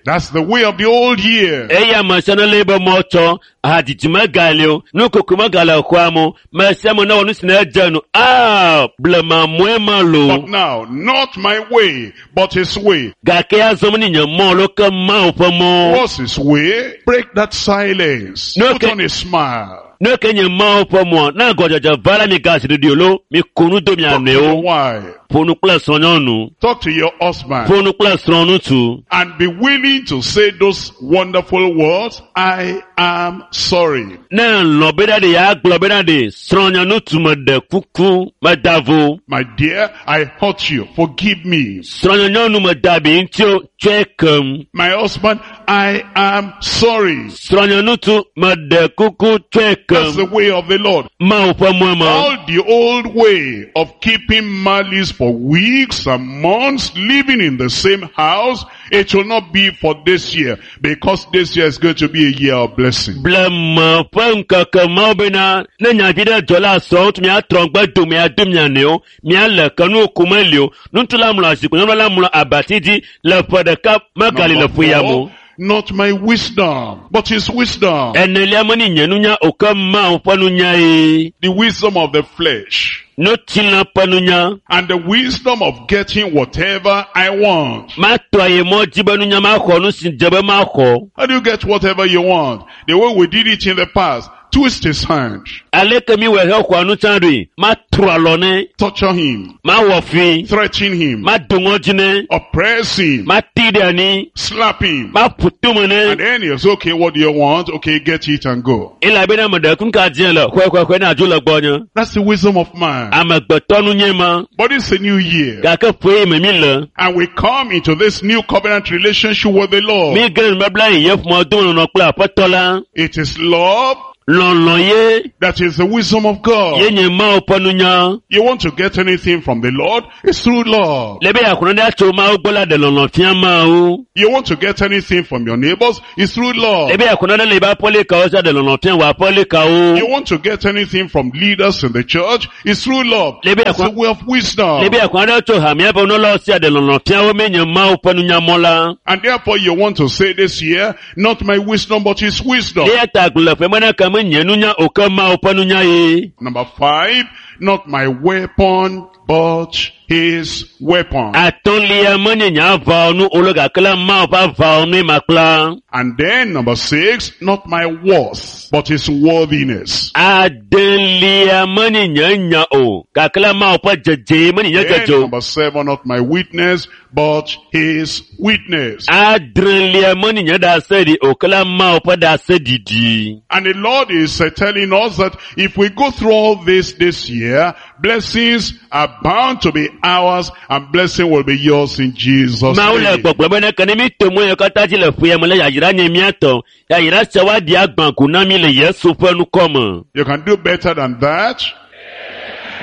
That's the way of the old year. Eye ame sia ne lé be mɔ tsɔ, hadzidzi megali o, nukoko megale xɔa me o, me sia me newɔ nu si ne dze nu. Aa, blema mɔe ma lo. But now, not my way, but his way. Gake azɔ menye nye mɔ lo ke Mawu ƒe mɔ. What's his way? Break that silence. No, Put okay. on a smile. Ne ke nye Mawu ƒe mɔa, ne agɔdzedze va la mi ga zi ɖuɖui o lo, mi ko nu do mia Talk to your nɔewo. wife. Ƒo nu kple srɔ̃nyɔnu. Talk to your husband. Ƒo nu kple srɔ̃ŋutsu. And be willing to say those wonderful words, I am sorry. Ne lɔ̃ bena ɖe ya gblɔ bena ɖe srɔ̃nyeŋutsu meɖe kuku meda vo. My dear, I hurt you. Forgive me. Srɔ̃nyenyɔnu meda abi ŋuti o, tsɔe kem. My husband, I am sorry. Srɔ̃nyeŋutsu meɖe kuku tsɔe That's the kem way of the Lord. Mawu ƒe mɔe ma. All the old way of keeping malice for weeks and months, living in the same house, it will not be for this year, because this year is going to be a year of blessing. Blema ƒe ŋkeke mawo bena ne nyavi ɖe dzɔ la srɔ̃wo tu miatrɔ ŋgbe do miado mia nɔewo miale ke nu ku meli o. Ŋutsu la mlɔ zikpui nyɔnu la mlɔ abati dzi le ƒe ɖeka megali le Number ƒe ya four, mo. not my wisdom, but his wisdom. Enelia menye nye nunya o ke Mawu ƒe nunya ye. The wisdom of the flesh Nutsilã ƒe nunya. and the wisdom of getting whatever I want. Matɔ ayi mɔ dzi be nunya maxɔ nu si dze be maxɔ. How do you get whatever you want? The way we did it in the past, twist his hand, Aleke mi wɔ hexɔa nu tsã ɖoe? Matrɔ alɔ nɛ, torture him, mawɔ fui, threaten him, mado ŋɔdzi nɛ, oppress him, mati ɖe anyi, slap him. maƒo tome nɛ. And then he's okay, what do you want? Okay, get it and go. Elabena ame ɖe kun ka dzẽ le xɔexɔexɔe na dzo le gbɔnye. That's the wisdom of man. Amegbetɔ nunye ma. But it's a new year. Gake ƒe yi me mi le. And we come into this new covenant relationship with the Lord. Mi ge ɖe nubabla yi ye ƒome dome nɔnɔ kple aƒetɔ la. It is love Lɔlɔ ye that is the wisdom of ye God. nye Mawu ƒe nunya. You want to get anything from the Lord? It's through love. Le be yeaxɔ nane atso Mawu gbɔ la ɖe lɔlɔ fia Mawu. You want to get anything from your neighbors? It's through love. Le be yeaxɔ nane le yibe aƒelikawo sia ɖe lɔlɔ fia wò aƒelikawo. You want to get anything from leaders in the church? It's through love. Lebe It's the way of wisdom. Le be yeaxɔ nane tso hamea ƒe nunɔlawo sia ɖe lɔlɔ fia wo menye Mawu ƒe nunyamɔ la. And therefore you want to say this year, not my wisdom, but his wisdom. Eya ta gblɔ le ƒe me na ke menye nunya o ke Mawu ƒe nunya ye. Number 5, not my weapon, but his weapon. Atɔ̃lia menye nye aʋawɔnu o le gake la Mawu ƒe aʋawɔnue makpla. And then number 6, not my worth, but his worthiness. Adelia menye nye nya o gake la Mawu ƒe dzedze menye nye Then dzedze o. number 7, not my witness, but his witness. Adrelia menye nye ɖaseɖi o ke la Mawu ƒe ɖaseɖiɖi. And the Lord is telling us that if we go through all this year, blessings are bound to be ours and blessing will be yours in Jesus' Mawu le name. gbɔgblɔ bena ke ne mi to mɔ yiwo katã dzi le ƒea me la yayra nye mía tɔ. Yayra sia woaɖi agbã ko na mi le Yesu ƒe ŋkɔ me. You can do better than that.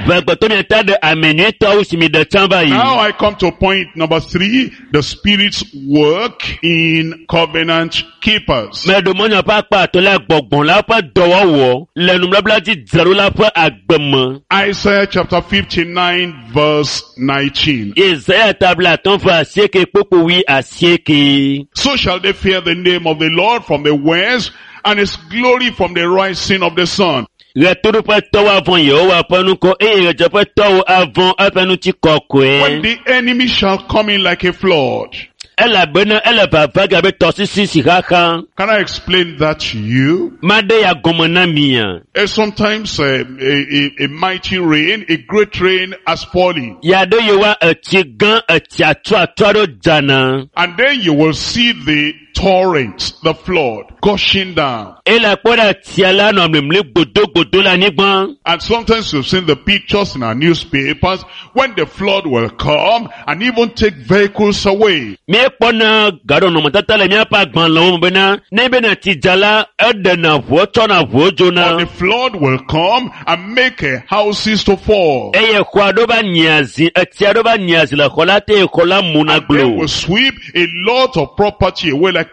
Ʋegbetɔ miata ɖe ame nyuietɔwo si mi ɖe tsã va yi. Now I come to point number 3, the Spirit's work in covenant keepers. Meɖo mɔnya ƒe akpa atɔ̃lia gbɔgbɔ la ƒe dɔwɔwɔ le nubabla dzi dzraɖola ƒe agbe me. Isaiah chapter 59 verse 19. Yesaya tabla atɔ̃ ƒe asieke kpokpo wui asieke. So shall they fear the name of the Lord from the west and his glory from the rising of the sun. Ɣetoɖoƒetɔwo avɔ̃ Yehowa ƒe ŋkɔ eye ɣedzeƒetɔwo avɔ̃ eƒe ŋutikɔkɔe. When the enemy shall come in like a flood. Elabena ele vava ge abe tɔsisi si xaxa. Can I explain that to you? Maɖe ya gɔme na mia. Sometimes a mighty rain, a great rain has fallen. Ya ɖe yewoa etsi gã etsi atsuatsu aɖewo dzana. And then you will see the torrents, the flood, gushing down. Ele akpɔ ɖe tsia la nɔ mlimli gbodogbodo le anyigba. And sometimes you've seen the pictures in our newspapers when the flood will come and even take vehicles away. Míekpɔna gaɖɔnɔmetata le míaƒe agbalẽwo me bena ne bena tsi dza la, eɖena ʋuwo tsɔna ʋuwo dzona. But the flood will come and make houses to fall. Eye xɔ aɖewo va nyia zi, etsi aɖewo va nyia zi le xɔ la te eye xɔ la muna And they glo. will sweep a lot of property away like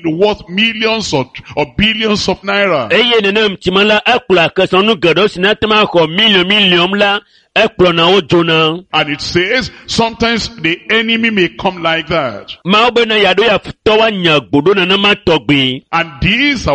worth millions or billions of naira. Eye nenem tsime la, ekplɔ kesinɔnu geɖewo si nate ŋu axɔ miliɔn miliɔn la, ekplɔna wo dzona. And it says sometimes the enemy may come like that. Mawu bena yeaɖo ya futɔ woanya gbo ɖo nenema tɔgbi. And this is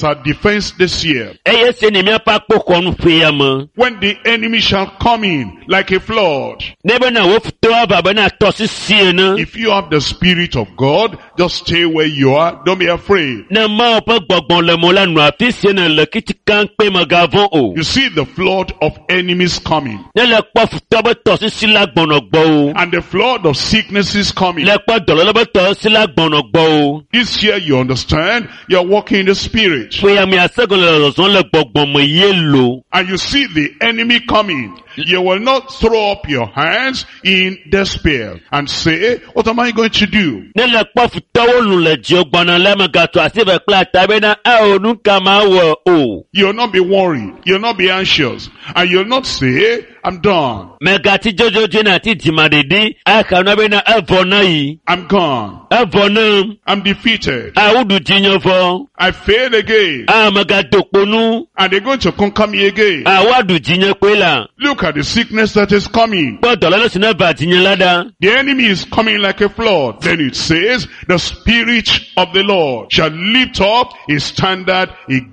our defense this year. Eye se ne míaƒe akpoxɔnu ƒe ya me. When the enemy shall come in like a flood. Ne bena wo futɔ ava bena tɔsisi ene. If you have the Spirit of God, just stay where you are. Don't be afraid. Ne Mawu ƒe gbɔgbɔ le mo la nɔ afi si ne le kitsika kpe megavɔ̃ o. You see the flood of enemies coming. Ne le kpɔ futɔ be tɔsisi la gbɔnɔ gbɔwò and the flood of sicknesses coming. Le kpɔ dɔléle be tɔsisi la gbɔnɔ gbɔwò This year, you understand, you're walking in the spirit. Ƒe ya mia se gɔme le zɔzɔm le gbɔgbɔ me ye lo. And you see the enemy coming. You will not throw up your hands in despair and say, what am I going to do? Ne le kpɔ futɔwo lu le dziwò gbɔna la megatsɔ asi ve kple ata bena eo nu ka ma wɔ o. You'll not be worried. You'll not be anxious. And you'll not say, I'm done. Megati dzodzodzoe na ati dzimaɖeɖi axa nua bena evɔ na yi. I'm gone. Evɔ nam. I'm defeated. Awu ɖu dzinye vɔ. I failed again. A megado kpo nu. And they're going to conquer me again. A woaɖu dzinye kpoe la. Look at the sickness that is coming. Kpɔ dɔléle si ne va dzinye la ɖa. The enemy is coming like a flood. Then it says, the Spirit of the Lord shall lift up his standard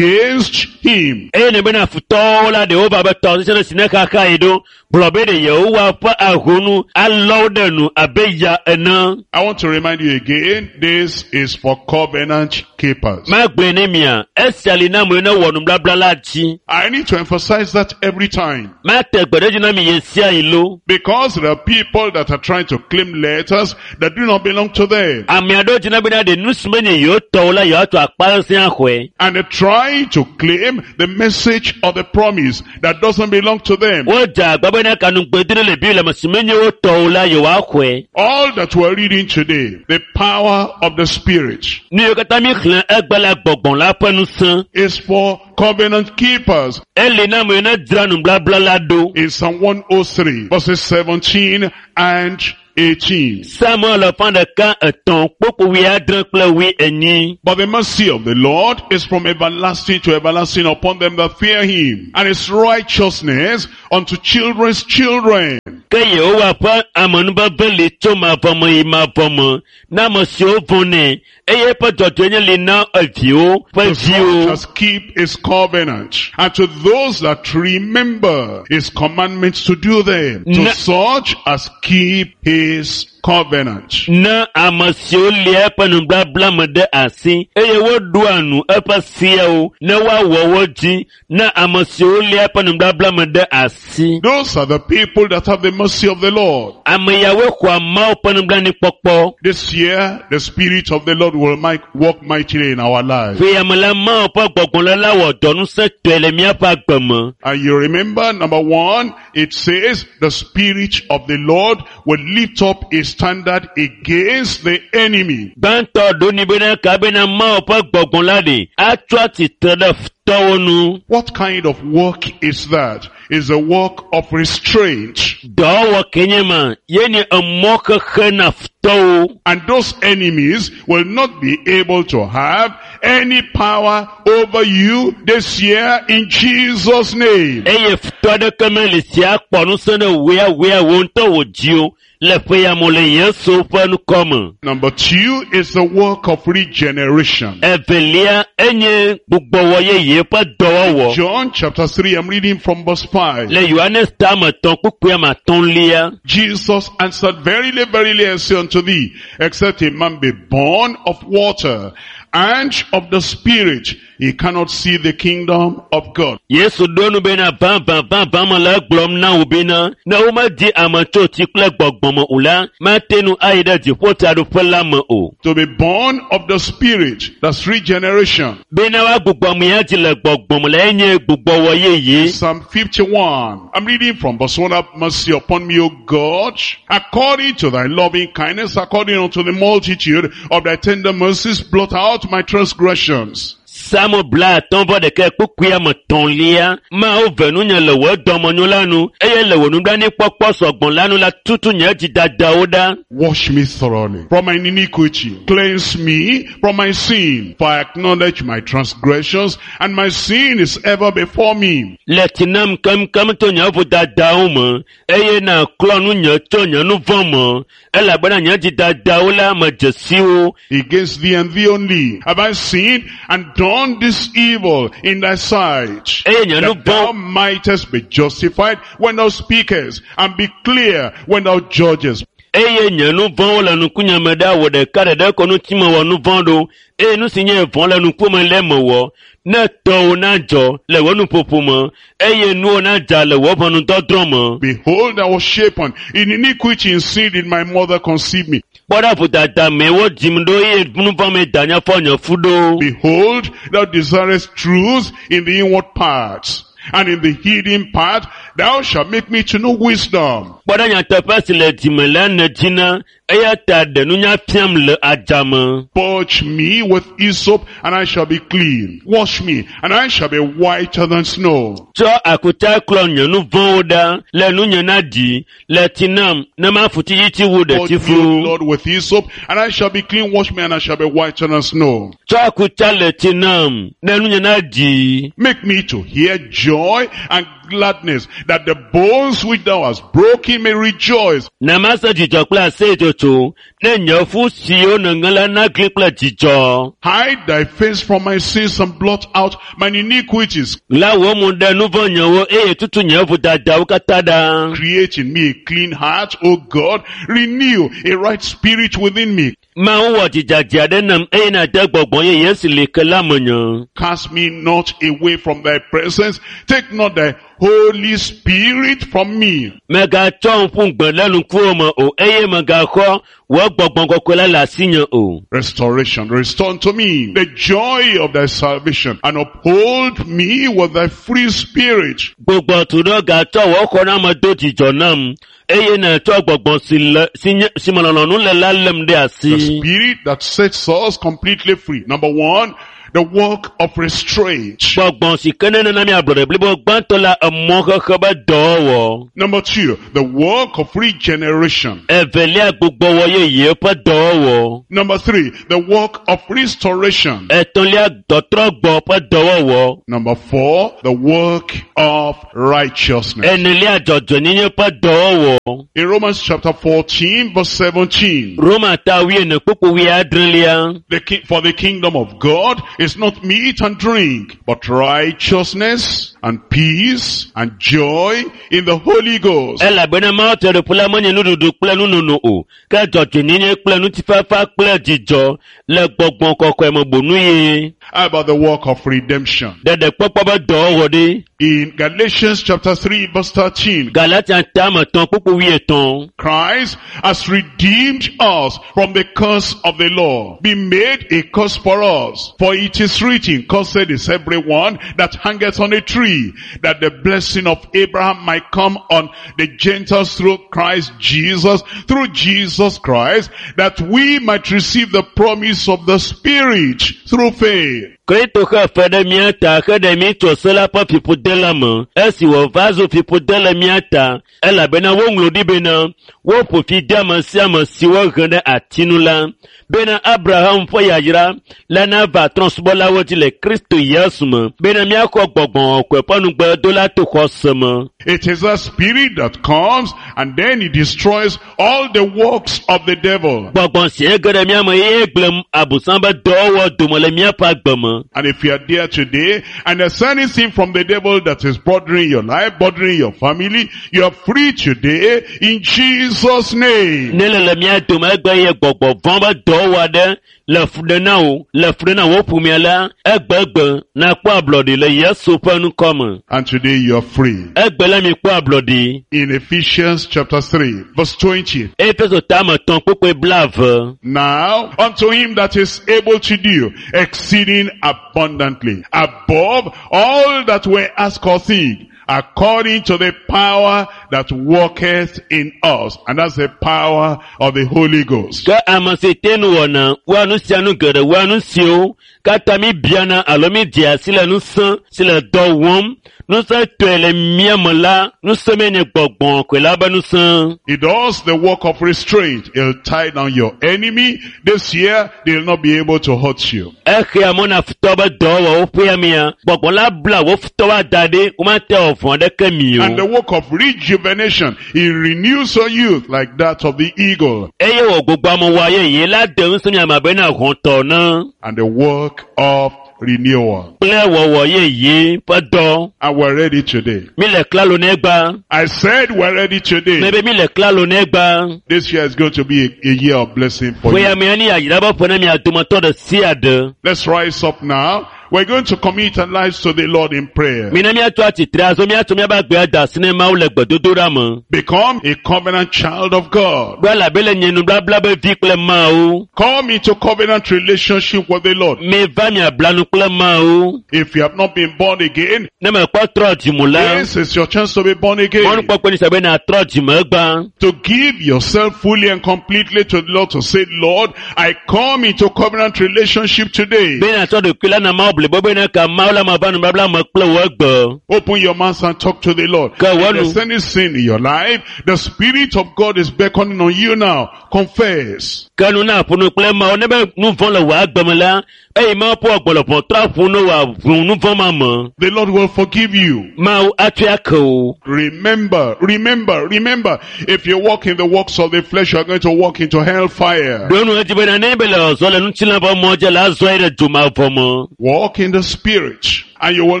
against him. Eye ne bena futɔwo la ɖewo va be tɔsisi ɖe si ne xaxa yi ɖo gblɔ be ɖe Yehowa ƒe ahonu alɔ wo ɖe nu abe ya ene. I want to remind you again, this is for covenant keepers. Magblɔe ne mia, esia li na amewo ne wɔ nubabla la dzi. I need to emphasize that every time. Mate gbe ɖe edzi na mi ɣe sia ɣi lo. Because there are people that are trying to claim letters that do not belong to them. Ame aɖewo dzina bena ɖe nu si menye yewo tɔwo la yewoatsɔ akpa sesẽ axɔe. And they're trying to claim the message of the promise that doesn't belong to them. Wodze agba bena kanugbedre le Biblia me si menye wo tɔwo la yewoaxɔe. All that we're reading today, the power of the Spirit, Nu yiwo katã mi xlẽ egbe la gbɔgbɔ la ƒe ŋusẽ. is for covenant keepers. Eli na amewo ne dzra nubabla la ɖo. In Psalm 103, verses 17 and 18. Samuel alafa ɖeka etɔ̃ kpokpo wuiadre kple wuienyi. But the mercy of the Lord is from everlasting to everlasting upon them that fear him, and his righteousness unto children's children. Ke Yehowa ƒe amenuveve li tso mavɔ me yi mavɔ me na ame siwo vɔ̃nɛ eye eƒe dzɔdzɔenye li na eviwo ƒe To such viwo. as keep his covenant, and to those that remember his commandments to do them, to such as keep his covenant. Na ame siwo lia eƒe nubabla me ɖe asi eye woɖoa nu eƒe seawo ne woawɔ wo dzi na ame siwo lia eƒe nubabla me ɖe asi. Those are the people that have the mercy of the Lord. Ame yawoe xɔa Mawu ƒe nublanuikpɔkpɔ. This year, the Spirit of the Lord will work mightily in our lives. Ƒe ya me la, Mawu ƒe gbɔgbɔ la wɔ dɔ ŋusẽtɔe le míaƒe agbe me. And you remember, number one, it says the Spirit of the Lord will lift up a standard against the enemy. Gbãtɔ ɖo ni bena ka bena Mawu ƒe gbɔgbɔ la ɖe atsɔ atsitre ɖe futɔwo nu. What kind of work is that? It's a work of restraint. Dɔwɔwɔ ke nye ma ye nye emɔ xexe na futɔwo. And those enemies will not be able to have any power over you this year in Jesus' name. Eye futɔ aɖeke meli si akpɔ ŋusẽ ɖe wò ya wò ya wò ŋutɔ wò dzi o le ƒe ya me le Yesu ƒe ŋkɔ me. Number two is the work of regeneration. Evelia enye gbugbɔwɔ yeye ƒe dɔwɔwɔ. John chapter 3, I'm reading from verse 5. Le Yohanes tame etɔ̃ kpukpui ame atɔ̃lia. Jesus answered, Verily, verily, I say unto thee, except a man be born of water and of the Spirit, he cannot see the kingdom of God. Yesu ɖo nu bena vavã vavã me le egblɔm na wò bena ne womedi ame tso tsi kple gbɔgbɔ me o la, mate ŋu ayi ɖe dziƒotsiaɖuƒe la me o. To be born of the Spirit, that's regeneration. Bena woagbugbɔ ame ya dzi le gbɔgbɔ me la enye gbugbɔwɔ yeye. Psalm 51. I'm reading from verse 1. Have mercy upon me, O God, according to thy loving kindness, according unto the multitude of thy tender mercies, blot out my transgressions. Psalm bla atɔ̃ vɔ ɖeka kpukpui ame etɔ̃lia. Mawu ve nunye le wò dɔmenyo la nu eye le wò nublanuikpɔkpɔ sɔgbɔ la nu la tutu nye dzidadawo ɖa. Wash me thoroughly from my iniquity. Cleanse me from my sin. For I acknowledge my transgressions, and my sin is ever before me. Le tsi nam keŋkeŋ tso nye vodadawo me eye nàklɔ nunye tso nye nu vɔ̃ me elabena nye dzidadawo la medze si wo. Against thee and thee only have I sinned and done this evil in thy sight, Eye nye nu that thou vɔ̃ mightest be justified when thou speakest, and be clear when thou judgest. Eye nye nu vɔ̃wo le nukunye me ɖa wò ɖeka ɖeɖe ko ŋuti mewɔ nu vɔ̃ ɖo eye nu si nye vɔ̃ le nukume le mewɔ. Ne tɔwò nadzɔ le wò nuƒoƒo me eye nuwò nadza le wò ʋɔnudɔdrɔ̃ me. Behold, I was shapen in iniquity and sin did my mother conceive me. Kpɔ ɖa vodada mee wodzim ɖo eye nu vɔ̃ mee danye fɔ nye fu ɖo. Behold, thou desirest truth in the inward parts, and in the hidden part thou shalt make me to know wisdom. Kpɔ ɖa nyateƒe si le dzime la nèdzina eya ta ɖe nunya fiam le adzame. Purge me with hyssop, and I shall be clean. Wash me, and I shall be whiter than snow. Tsɔ akuta klɔ nye nu vɔ̃wo ɖa le nunye na ɖi le tsi nam ne mafu tsitsitsi wu Purge me, O ɖetifu. Lord, with hyssop, and I shall be clean. Wash me, and I shall be whiter than snow. Tsɔ akuta le tsi nam ne nunye na ɖi. Make me to hear joy and gladness, that the bones which thou hast broken may rejoice. Na mase dzidzɔ kple aseyetsotso ne nye fu siwo nèŋe la nagli kple dzidzɔ. Hide thy face from my sins and blot out mine iniquities. La wò mo ɖe nu vɔ̃ nyewo eye tutu nye vodadawo katã ɖa. Create in me a clean heart, O God. Renew a right spirit within me. Mawu wɔ dzidzadzi aɖe nam eye nàde gbɔgbɔ yeye si li ke la menye. Cast me not away from thy presence. Take not thy Holy Spirit from me. Mègatsɔm ƒu gbe ɖe ŋkuwò me o eye mègaxɔ wò gbɔgbɔ kɔkɔe la le asinye o. Restoration. Restore unto me the joy of thy salvation and uphold me with thy free spirit. Gbugbɔ tu ɖo gatsɔ wò xɔname do dzidzɔ nam eye nàtsɔ gbɔgbɔ si le si nye si me lɔlɔ̃nu le la lém ɖe The asi. spirit that sets us completely free. Number one, the work of restraint. Gbɔgbɔ si ke ne nana mi ablɔɖe blibo gbãtɔ la emɔxexe be dɔwɔwɔ. Number two, the work of regeneration. Evelia gbugbɔwɔ yeye ƒe dɔwɔwɔ. Number three, the work of restoration. Etɔ̃lia tɔtrɔgbɔ ƒe dɔwɔwɔ. Number four, the work of righteousness. Enelia dzɔdzɔenyenye ƒe dɔwɔwɔ. In Romans chapter 14 verse 17, Roma ta wuiene kpukpu wuiadrelia. for the kingdom of God is not meat and drink, but righteousness and peace and joy in the Holy Ghost. Elabena Mawu Fiaɖuƒe la menye nuɖuɖu kple nunono o, ke dzɔdzɔenyenye kple ŋutifafa kple dzidzɔ le gbɔgbɔ kɔkɔe me bonu ye. How about the work of redemption? Ɖeɖekpɔkpɔ be dɔwɔwɔ ɖi. In Galatians chapter 3 verse 13, Galatia tame tɔ̃ kpukpu wuietɔ̃. Christ has redeemed us from the curse of the law, been made a curse for us. For it is written, cursed is everyone that hangeth on a tree, that the blessing of Abraham might come on the Gentiles through Christ Jesus, through Jesus Christ, that we might receive the promise of the Spirit through faith. Kristo xe fe ɖe mía ta heɖe mí tso se la ƒe fiƒode la me esi wòva zu fiƒode le mía ta elabena woŋlɔ ɖi bena woƒo fi de ame sia ame si wohe ɖe ati nu la bena Abraham ƒe yayra la nava trɔ̃subɔlawo dzi le Kristo Yesu me bena míaxɔ gbɔgbɔ kɔkɔe ƒe nugbedo to xɔse me. It is a spirit that comes and then it destroys all the works of the devil. Gbɔgbɔ si ege ɖe mía me eye gblẽ abosam be dɔwɔwɔ dome le míaƒe agbe me. And if you are there today and there's anything from the devil that is bothering your life, bothering your family, you are free today in Jesus' name. Ne le le mía dome egbe ye gbɔgbɔ vɔ̃ be dɔwɔwɔ aɖe le fu ɖe na wò le fu ɖe na wò ƒomea la egbegbe nakpɔ ablɔɖi le Yesu ƒe ŋkɔ me. And today you are free. Egbe la mi kpɔ ablɔɖi. In Ephesians chapter 3, verse 20. Efeso tame tɔ̃ kpukpui blaeve. Now unto him that is able to do exceeding abundantly above all that we ask or think, according to the power that worketh in us. And that's the power of the Holy Ghost. Ke ame si te nu wɔna wɔa nu sia nu geɖe wɔa nu siwo katã mi biana alo mi dzea si le ŋusẽ si le dɔ wɔm ŋusẽ tɔe le mía me la ŋusẽ mee nye gbɔgbɔ kɔe la be ŋusẽ. He does the work of restraint. He'll tie down your enemy. This year, they'll not be able to hurt you. Exea mɔ na futɔ be dɔwɔwɔwo ƒea mia gbɔgbɔ la bla wo futɔwo ada ɖi womate wɔ vɔ̃ aɖeke mi And the o. work of rejuvenation, he renews your youth like that of the eagle. Eye wò gbogbo amewɔa yeye la de ŋusẽ mia me abe na hɔ̃tɔ ne. And the work of renewal. Kple wɔwɔ yeye ƒe dɔ. And we're ready today. Mi le klalo ne gba. I said we're ready today. Mebe mi le klalo ne gba. This year is going to be a year of blessing for Ƒe ya you. me ni ayira be ƒe ne mia dometɔ ɖe sia ɖe. Let's rise up now. We're going to commit our lives to the Lord in prayer. Mina míatsɔ atsitre azɔ míatsɔ míaƒe agbe ada asi ne Mawu le gbedodoɖa me. Become a covenant child of God. Be elabe le nye nubabla be vi kple Mawu. Come into covenant relationship with the Lord. Miva miabla nu kple Mawu. If you have not been born again, Ne mekpɔ trɔ dzime la, this is your chance to be born again. mɔnukpɔkpɔ ni sia be nàtrɔ dzime gbã. To give yourself fully and completely to the Lord, to say, Lord, I come into covenant relationship today. Be nàtsɔ ɖokui la na Mawu blibo be ne ka Mawu la mava nubabla me kple wò egbe. Open your mouth and talk to the Lord. Go If on. there's any sin in your life, the Spirit of God is beckoning on you now. Confess. Ke nu na ƒo nu kple Mawu ne be nu vɔ̃ le wò agbe me la, eye Mawu ƒe gbɔlɔbɔ trɔ aƒo nu wòaʋu nu vɔ̃ ma me. The Lord will forgive you. Mawu atsɔe ake wò. Remember, remember, remember, if you walk in the works of the flesh, you are going to walk into hellfire. Ɖo nu edzi bena ne be le zɔ le ŋutilã ƒe mɔ dzi la, azɔ yi ɖe dzomavɔ me. Walk in the Spirit, and you will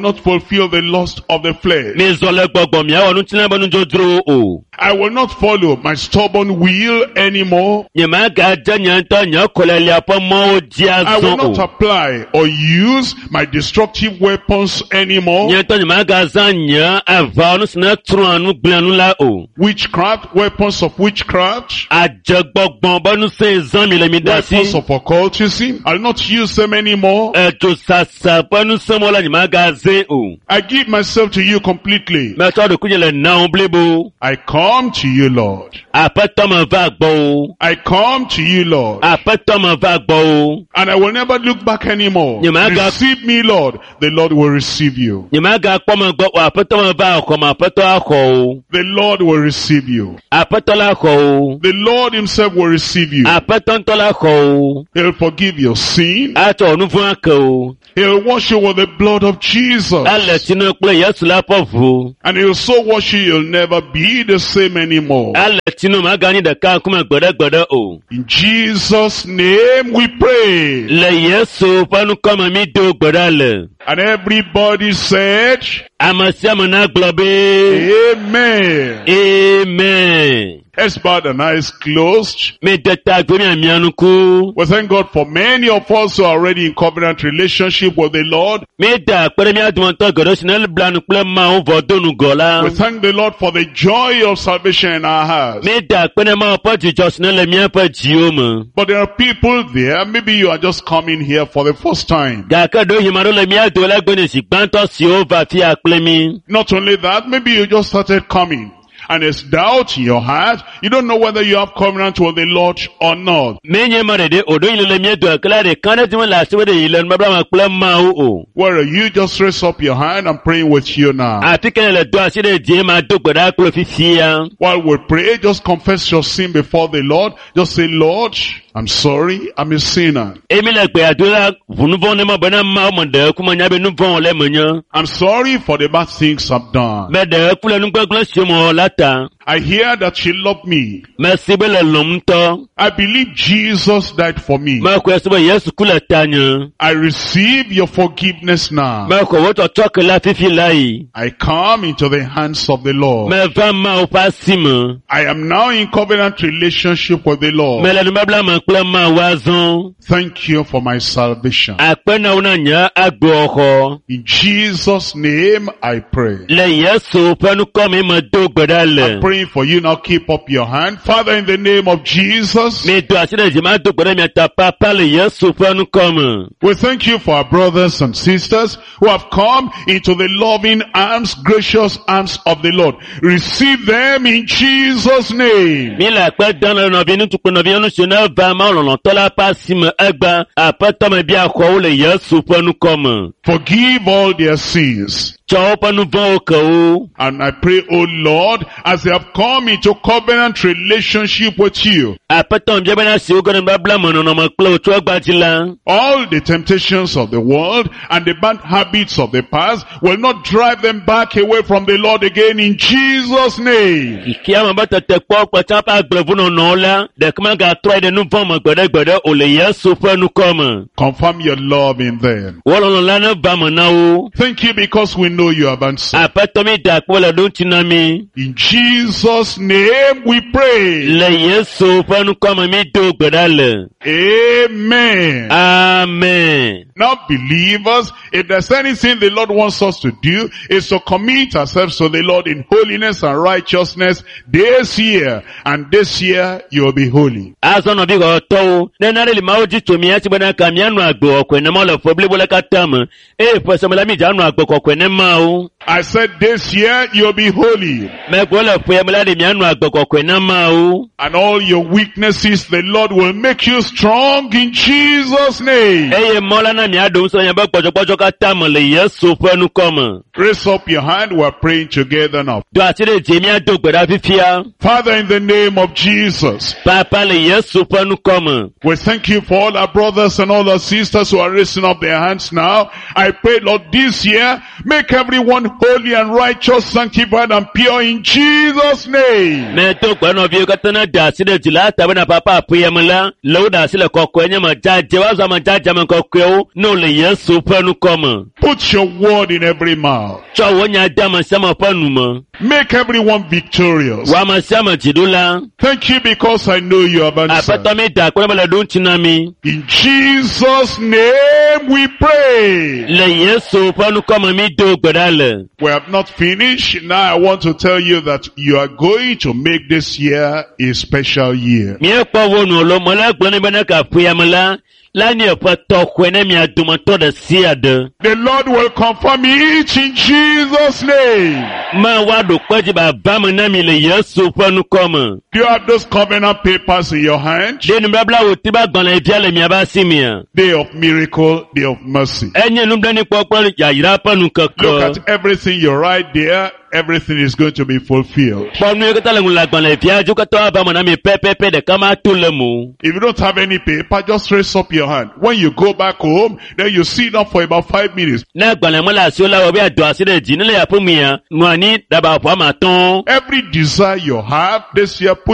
not fulfill the lust of the flesh. Mizɔ le gbɔgbɔ miawɔ ŋutilã ƒe nudzodzrowo o. I will not follow my stubborn will anymore. Nyemagadze nye ŋutɔ nye kɔlelia ƒe mɔwo dzi I will azɔ not o. apply or use my destructive weapons anymore. Nye ŋutɔ nyemagazã nye aʋawɔnu si ne trɔa nu gblẽa nu la o. Witchcraft, weapons of witchcraft, Adzegbɔgbɔ be ŋusẽ zã mi le mi ɖe asi. weapons of occultism. I'll not use them anymore. Edzosasa ƒe ŋusẽmɔ la nyemagazãe o. I give myself to you completely. Metsɔ ɖokuinye le na wò blibo. I come to you, Lord. Aƒetɔ meva gbɔwò. I come to you, Lord. Aƒetɔ meva gbɔwò. And I will never look back anymore. Nyemaga- Receive me, Lord. The Lord will receive you. Nyemagakpɔ megbe o. Aƒetɔ meva xɔme. Aƒetɔ axɔ wò. The Lord will receive you. Aƒetɔ la xɔ wò. The Lord himself will receive you. Aƒetɔ ŋutɔ la xɔ wò. He'll forgive your sin. Atsɔ wò nu vɔ̃ ake wò. He'll wash you with the blood of Jesus. Ele tsi na kple Yesu la ƒe ʋu. And he'll so wash you, you'll never be the same anymore. Ele tsi na maganyi ɖeka ŋkume gbeɖegbeɖe o. In Jesus' name we pray. Le Yesu ƒe ŋkɔme mi do gbe ɖa le. And everybody said, Ame sia ame nagblɔ be Amen. Amen. Let's bow and eyes closed. Mi de ta gbe mia mia nuku. We thank God for many of us who are already in covenant relationship with the Lord. Mi da akpe ɖe mía dometɔ geɖewo si ne bla nu kple Mawu vɔ do ŋgɔ la. We thank the Lord for the joy of salvation in our hearts. Mi da akpe ɖe Mawu ƒe dzidzɔ si ne le míaƒe dziwo me. But there are people there, maybe you are just coming here for the first time. Gake ɖewohĩ ame aɖewo le mía dome la gbe nye zi gbãtɔ siwo va afia kple mí. Not only that, maybe you just started coming and there's doubt in your heart. You don't know whether you have covenant with the Lord or not. Menye ame ɖeɖe o, ɖewohĩ le mía dome ke la ɖeka ɖe dzi mele asi be ɖe yi le nubabla me kple Mawu o. Where you just raise up your hand, I'm praying with you now. Afi ke ne le do asi ɖe dzie ma do gbe ɖa kple fifia. While we pray, just confess your sin before the Lord. Just say, Lord, I'm sorry, I'm a sinner. Emi le gbea do la ʋu nu vɔ̃ ne ma bena Mawu me ɖe eku menya be nu vɔ̃ le menye. I'm sorry for the bad things I've done. Me ɖe eku le nugbegblẽ siwo mewɔ la ta. I hear that you love me. Mesi be le lɔ̃m ŋutɔ. I believe Jesus died for me. Mexɔe se be Yesu ku le tanye. I receive your forgiveness now. Mexɔ wò tsɔtsɔke la fifi la yi. I come into the hands of the Lord. Meva Mawu ƒe asi me. I am now in covenant relationship with the Lord. Mele nubabla me kple Mawu azɔ. Thank you for my salvation. Akpe na wo na nye agbexɔ. In Jesus' name I pray. Le Yesu ƒe ŋkɔ me medo gbe ɖa le. I'm praying for you now. Keep up your hand. Father, in the name of Jesus, Mi do asi ɖe dzi ma do gbe ɖe mia ta papa le Yesu ƒe ŋkɔ me. we thank you for our brothers and sisters who have come into the loving arms, gracious arms of the Lord. Receive them in Jesus' name. Mi le akpe dam le nɔvi ŋutsu kple nɔvi nyɔnu siwo ne va Mawu lɔlɔ̃tɔ la ƒe asi me egba aƒetɔ me bia xɔ wo le Yesu ƒe ŋkɔ me. Forgive all their sins. Tsɔ woƒe nu vɔ̃wo ke wo. And I pray, O Lord, as they have come into covenant relationship with you, Aƒetɔ mebia bena si woge ɖe nubabla me nɔnɔme kple wò tso egbea dzi la, all the temptations of the world and the bad habits of the past will not drive them back away from the Lord again in Jesus' name. xexea me be tetekpɔ kple tsã ƒe agblevunɔnɔwo la, ɖeke megatrɔe ɖe nu vɔ̃ me gbeɖegbeɖe o le Yesu ƒe ŋkɔ me. Confirm your love in them. Wò lɔlɔ̃ la neva me na wo. Thank you because we know you have answered. Aƒetɔ mi da akpe le ɖo ŋuti na mi. In Jesus' name we pray. Le Yesu ƒe ŋkɔ me mi do gbe ɖa le. Amen. Amen. Now believers, if there's anything the Lord wants us to do, is to commit ourselves to the Lord in holiness and righteousness this year. And this year you will be holy. Azɔ nɔvi xɔtɔwo, ne nane li Mawu dzi tso mía si bena ka míanɔ agbe kɔkɔe ne Mawu le ƒe blibo la katã me. Eye ƒe sia me la mídze anɔ agbe kɔkɔe ne Mawu. I said this year you'll be holy. Megblɔ le ƒe ya me la ɖe míanɔ agbe kɔkɔe na Mawu. And all your weaknesses, the Lord will make you strong in Jesus' name. Eye Mawu la na míaɖo ŋusẽ le miaƒe gbɔdzɔgbɔdzɔ katã me le Yesu ƒe ŋkɔ me. Raise up your hand. We're praying together now. Do asi ɖe dzi míado gbe ɖa fifia. Father, in the name of Jesus, Papa le Yesu ƒe ŋkɔ me. we thank you for all our brothers and all our sisters who are raising up their hands now. I pray, Lord, this year, make everyone holy and righteous, sanctified and pure in Jesus' name. Medo gbe nɔviwo katã ne da asi ɖe dzi la ta bena papa ƒe ya me la, le wo ɖe asi le kɔkɔe nye me dzadze, woazɔ ame dzadze ame kɔkɔewo ne wole Yesu ƒe ŋkɔ me. Put your word in every mouth. Tsɔ wò nya de ame sia ame ƒe nu me. Make everyone victorious. Wò ame sia ame dziɖula. Thank you because I know you have answered. Aƒetɔ mi da akpe ne mele ɖo ŋuti na mi. In Jesus' name we pray. Le Yesu ƒe ŋkɔ me mi do gbe ɖa le. We have not finished. Now I want to tell you that you are going to make this year a special year. Míekpɔ wo nu lo mele gblɔ ne bena ka ƒe ya me la, la nye ƒe tɔxɔe ne mia dometɔ ɖe sia ɖe. The Lord will confirm it in Jesus' name. Me woaɖo kpe dzi baba me na mi le Yesu ƒe ŋkɔ me. Do you have those covenant papers in your hand? Ɖe nubabla wò ti be agbalẽ via le miaƒe asi mea? Day of miracle, day of mercy. Enye nublanuikpɔkpɔ yayra ƒe Look nukeke. at everything you write there. Everything is going to be fulfilled. Kpɔ nu yi katã le ŋu le agbalẽ via dzi wo katã woava me na mi pɛpɛpɛ ɖeka ma to le mo. If you don't have any paper, just raise up your hand. When you go back home, then you sit down for about 5 minutes. Ne agbalẽ mele asiwò la wɔ be ado asi ɖe dzi ne le aƒe mea, nɔ anyi ɖaba ƒo ame atɔ̃. Every desire you have this year, put